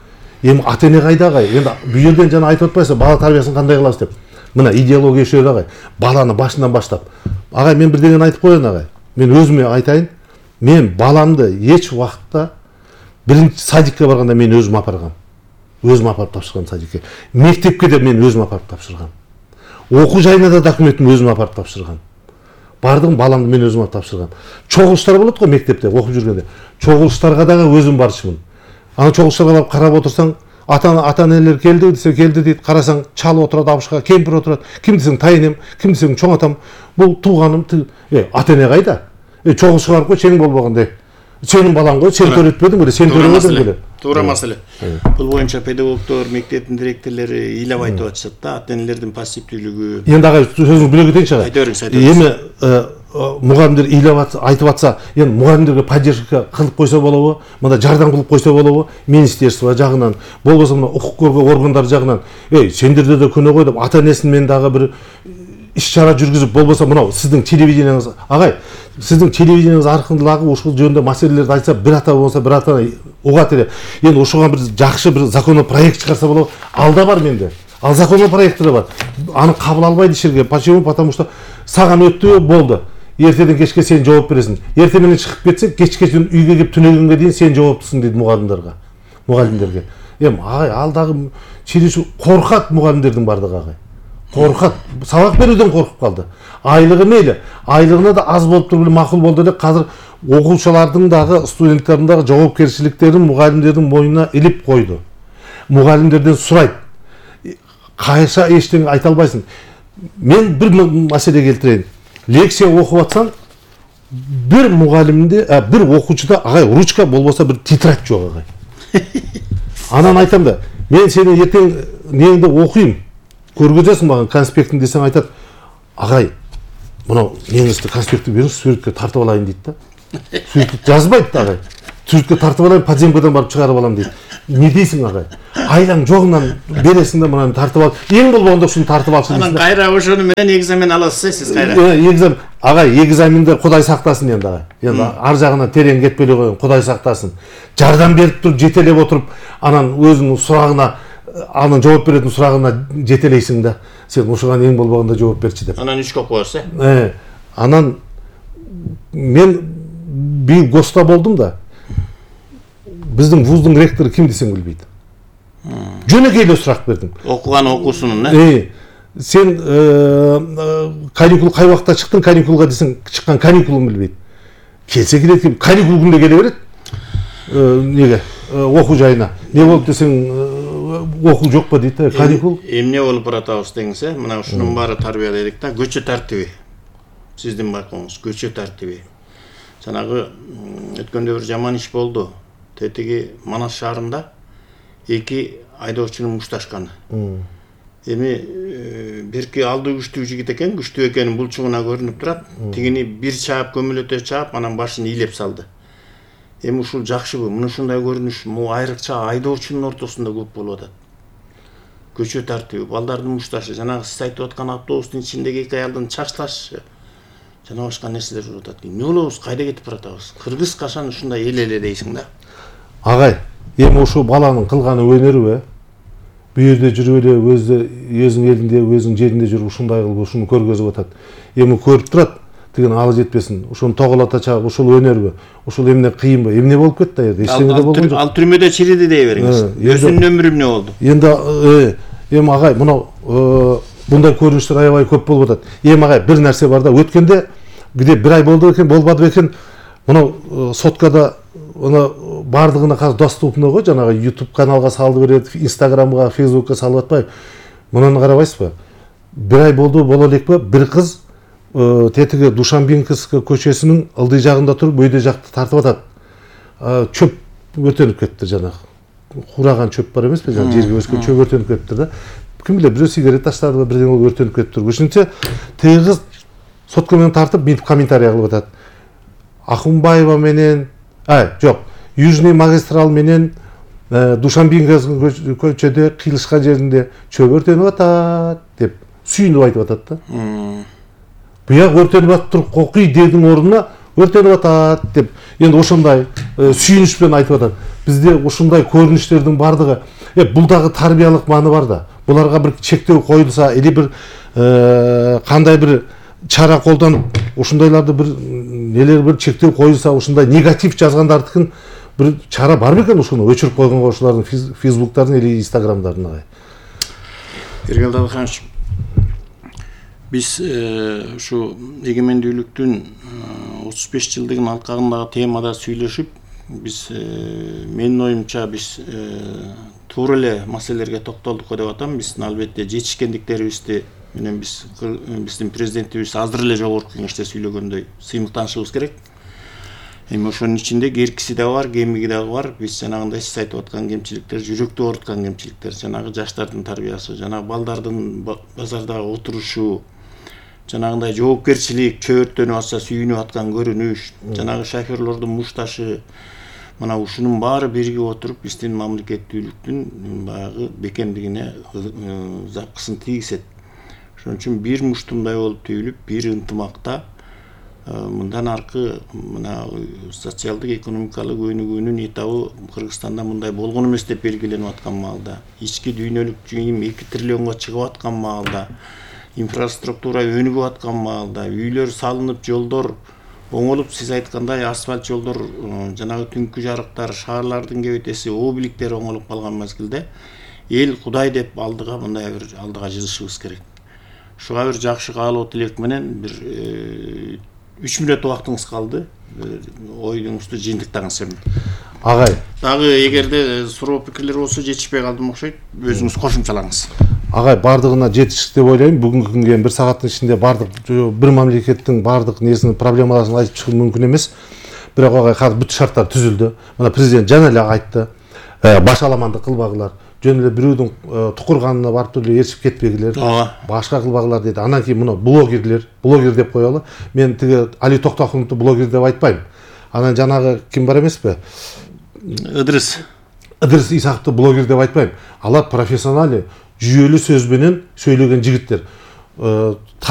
Эми ата-эне кайда агай? Энди бул жерден жана айтып атпайсызбы, бала тарбиясын кандай кылабыз деп. Мына идеология ошол агай. Баланы башынан баштап. Агай, мен бирдеңени айтып коеюн агай. Мен өзүмө айтайын. Мен баламды эч убакытта биринчи садикке барганда мен өзүм апаргам. Өзүм апарып тапшыргам садикке. Мектепке де мен өзүм апарып тапшыргам. Окуу жайына да документин өзүм апарып тапшыргам. Бардым, баламды мен өзүм апарып тапшыргам. Чогулуштар болот го мектепте окуп жүргөндө. Чогулуштарга дагы өзүм барчумун. Аны чогулуштарга барып карап отурсаң, ата-энелер келди десе келди дейт, карасаң чал отурат, абышка кемпир отурат. Ким десең тайынем, ким десең чоң атам. Бул тууганым, ата-эне кайда? Чогулушка барып кой, чең болбогондой. Сенин балаң го, сен төрөтпөдүң беле, сен төрөбөдүң беле. Туура маселе. Бул боюнча педагогдор, мектептин директорлору ыйлап айтып атышат да, ата-энелердин пассивдүүлүгү. Эми дагы сөзүңүздү бөлө кетейинчи агай. Айта бериңиз. Эми мугалимдер ыйлап айтып атса, эми мугалимдерге поддержка кылып койсо болобу, мында жардам кылып койсо болобу, министерство жагынан, болбосо мына укук коргоо органдары жагынан, сендерде да күнөө го деп ата-энесин мен дагы бир иш-чара жүргүзүп, болбосо мынау сиздин телевидениеңиз, агай, сиздин телевидениеңиз аркылуу ушул жөнүндө маселелерди айтса, бир ата болсо бир ата угат эле. Эми ошого бир жакшы бир законопроект чыгарса болобу, ал да бар менде. Ал законопроекти да бар. Аны кабыл албайт ишерге. Почему? Потому что саган өттү, болду. Эртеден кечке сен жооп бересиң. Эрте менен чыгып кетсең, кечке үйгө келип түнөгөнгө дейин сен жооптусуң дейт мугалимдерге. Эми агай, ал дагы чиричи коркат мугалимдердин бардыгы агай. Коркат. Сабак берүүдөн коркуп калды. Айлыгы мейли. Айлыгына да аз болуп туруп эле макул болду эле. Азыр окуучулардын дагы, студенттердин дагы жоопкерчиликтерин мугалимдердин мойнуна илип койду. Мугалимдерден сурайт. Кайса эчтеке айта албайсың. мен бир маселе келтирейин. Лекция окуп атсаң, бир мугалимде, бир окуучуда агай ручка болбосо бир тетрадь жок агай. Анан айтам да, мен сени эртең неңде окуйм, көргөзөсүң мага конспектин десең айтат, агай, мына неңизди конспектти бериңиз, сүрөткө тартып алайын дейт да. Сүрөткө жазбайт да агай. Сүрөткө тартып алайын, подземкадан барып чыгарып алам дейт. Не дейсиң агай? Айлаң жогунан бересиң да мынаны тартып ал. Эң болбогондо ушуну тартып алчы дейсиң. Анан кайра ошону менен экзамен аласыз сиз кайра. Экзамен, агай, экзаменде Кудай сактасын енді агай. Енді ар жагына терең кетпелей коюн, Кудай сактасын. Жардам берип туруп, жетелеп отуруп, анан өзүнүн сурагына, анын жооп беретін сурагына жетелейсиң да. Сен ушуга эң болбогондо жооп берчи деп. Анан 3 коесуз, Анан мен бир ГОСта болдум да. Биздин вуздун ректору ким десең билбейт. Жөнөкөй эле сурак бердим. Окуган окуусунун, Сен каникул кай убакта чыктың, каникулга десең, чыккан каникулун билбейт. Келсе келет, каникул күндө келе берет. Неге? Окуу жайына. Не болуп десең, окуу жокпу дейт, каникул. Эмне болуп баратабыз деңиз, мына ушунун баары тарбия дедик да, көчө тартиби. Сиздин байкооңуз, көчө тартиби. Жанагы өткөндө бир жаман иш болду. Тетиги Манас шаарында 2 айдоочунун мушташканы. Эми бирки алды күчтүү жигит экен, күчтүү экени булчугуна көрүнүп турат. Тигини бир чаап көмөлөтө чаап, анан башын ийлеп салды. Эми ушул жакшыбы? Мына ушундай көрүнүш айрыкча айдоочунун ортосунда көп болуп атат. Көчө тартиби, балдардын мушташы, жанагы сиз айтып аткан автобустун ичиндеги 2 аялдын чачташы, жана башка нерселер болуп атат. Эмне болобуз, кайда кетип баратабыз? Кыргыз качан ушундай эле дейсиң да. Агай, эми ушу баланын кылганы өнөрүбү? Бу жерде жүрүп эле өзүнүн элинде, өзүнүн жеринде жүрүп ушундай кылып ушуну көргөзүп атат. Эми көрүп турат, деген алы жетпесин. Ушуну тоголата чагып, ушул өнөрбү? Ушул эмне кыйынбы? Эмне болуп кетти аяда? Эчтеме да болгон жок. Ал түрмөдө чириди дей бериңиз. Өзүнүн өмүрү эмне болду? Эми агай, мына мындай көрүнүштөр аябай көп болуп атат. Эми агай, бир нерсе бар да, өткөндө где 1 ай болду экен, болбады экен. Мына соткада бардыгына казыр доступный го, жанагы YouTube каналга салып берет, Instagramга, Facebookка салып атпайбы? Мунаны карабайсызбы? 1 ай болду, боло элекпи? Бир кыз тетиги Душанбинковская көчөсүнүн ылдый жагында туруп, өйдө жакты тартып атат. Чөп өртөнүп кетти жанагы. Кураган чөп бар эмеспи? Жанагы жерге өскөн чөп өртөнүп кетти да. Ким билет, бирөө сигарет таштадыбы, бирдеме болуп өртөнүп кетти. Ошентсе, теги кыз сотко менен тартып, мынтип комментарий кылып атат. Ахунбаева менен, жок, Южный магистрал менен Душанбинковская көчөдө кыйылышкан жеринде чөп өртөнүп атат деп сүйүнүп айтып атат да. Буяк өртөнүп атып, кокуй дедин ордуна өртөнүп атат деп, енді ошондой сүйүнүч менен айтып атат. Бизде ошондой көрүнүштөрдүн бардыгы, бул дагы тарбиялык мааны бар да. Буларга бир чектөө коюлса, или бир кандай бир чара колдонуп, ушундайларды бир нелер бир чектөө коюлса, ушундай негатив жазгандардыкын бир чара бар бекен, ушуну өчүрүп койгонго, ошолордун фейсбуктарын или инстаграмдарын агай. Эргел Дадыханович, биз ушу эгемендүүлүктүн 35 жылдыгын алкагындагы темада сүйлөшүп, биз менин оюмча биз туура эле маселелерге токтолдук деп атам. Биздин албетте жетишкендиктерибизди менен биздин президентибиз азыр эле жогорку кеңеште сүйлөгөндөй сыймыктанышыбыз керек. Эми ошонун ичинде керкиси да бар, кемиги дагы бар. Биз жанагындай сиз айтып аткан кемчиликтер, жүрөктү ооруткан кемчиликтер, жанагы жаштардын тарбиясы, жанагы балдардын базардагы отурушу, жанагындай жоопкерчилик, чөп өртөнүп атса сүйүнүп аткан көрүнүш, жанагы шоферлордун мушташы, мына ушунун баары биригип отуруп биздин мамлекеттүүлүктүн баягы бекемдигине запкысын тийгизет. Ошон үчүн бир муштумдай болуп түйүлүп, бир ынтымакта мындан аркы мына социалдык экономикалык өнүгүүнүн этабы Кыргызстанда мындай болгон эмес деп белгиленип аткан маалда, ички дүйнөлүк жыйым 2 триллионго чыгып аткан маалда, инфраструктура өнүгүп аткан маалда, үйлөр салынып, жолдор оңолуп, сиз айткандай асфальт жолдор, жанагы түнкү жарыктар, шаарлардын кебетеси, обликтер оңолуп калган мезгилде эл Кудай деп алдыга мындай бир алдыга жылышыбыз керек. Ушуга бир жакшы каалоо тилек менен бир 3 мүнөт убактыңыз калды. Оюңузду жыйынтыктаңыз эми. Агай. Дагы эгерде суроо пикирлер болсо жетишпей калдым окшойт, өзүңүз кошумчалаңыз. агай бардыгына жетиштик деп ойлойм. Бүгүнкү күнгө бир сааттын ичинде бардык бир мамлекеттин бардык несинин проблемаларын айтып чыгуу мүмкүн эмес. Бирок агай казыр бүт шарттар түзүлдү. Мына президент жана эле айтты. Баш аламандык кылбагылар. Жөн эле бирөөдүн тукурганына барып эле ээрчип кетпегилер. Башка кылбагылар деди. Анан кийин муну блогер деп коелу. Мен тиги Али Токтохуновду блогер деп айтпайм. Анан жанагы ким бар эмеспи? Ыдырыс Исаковду блогер деп айтпайм. Алар профессионалы, жүйөлүү сөз менен сөйлөгөн жигиттер.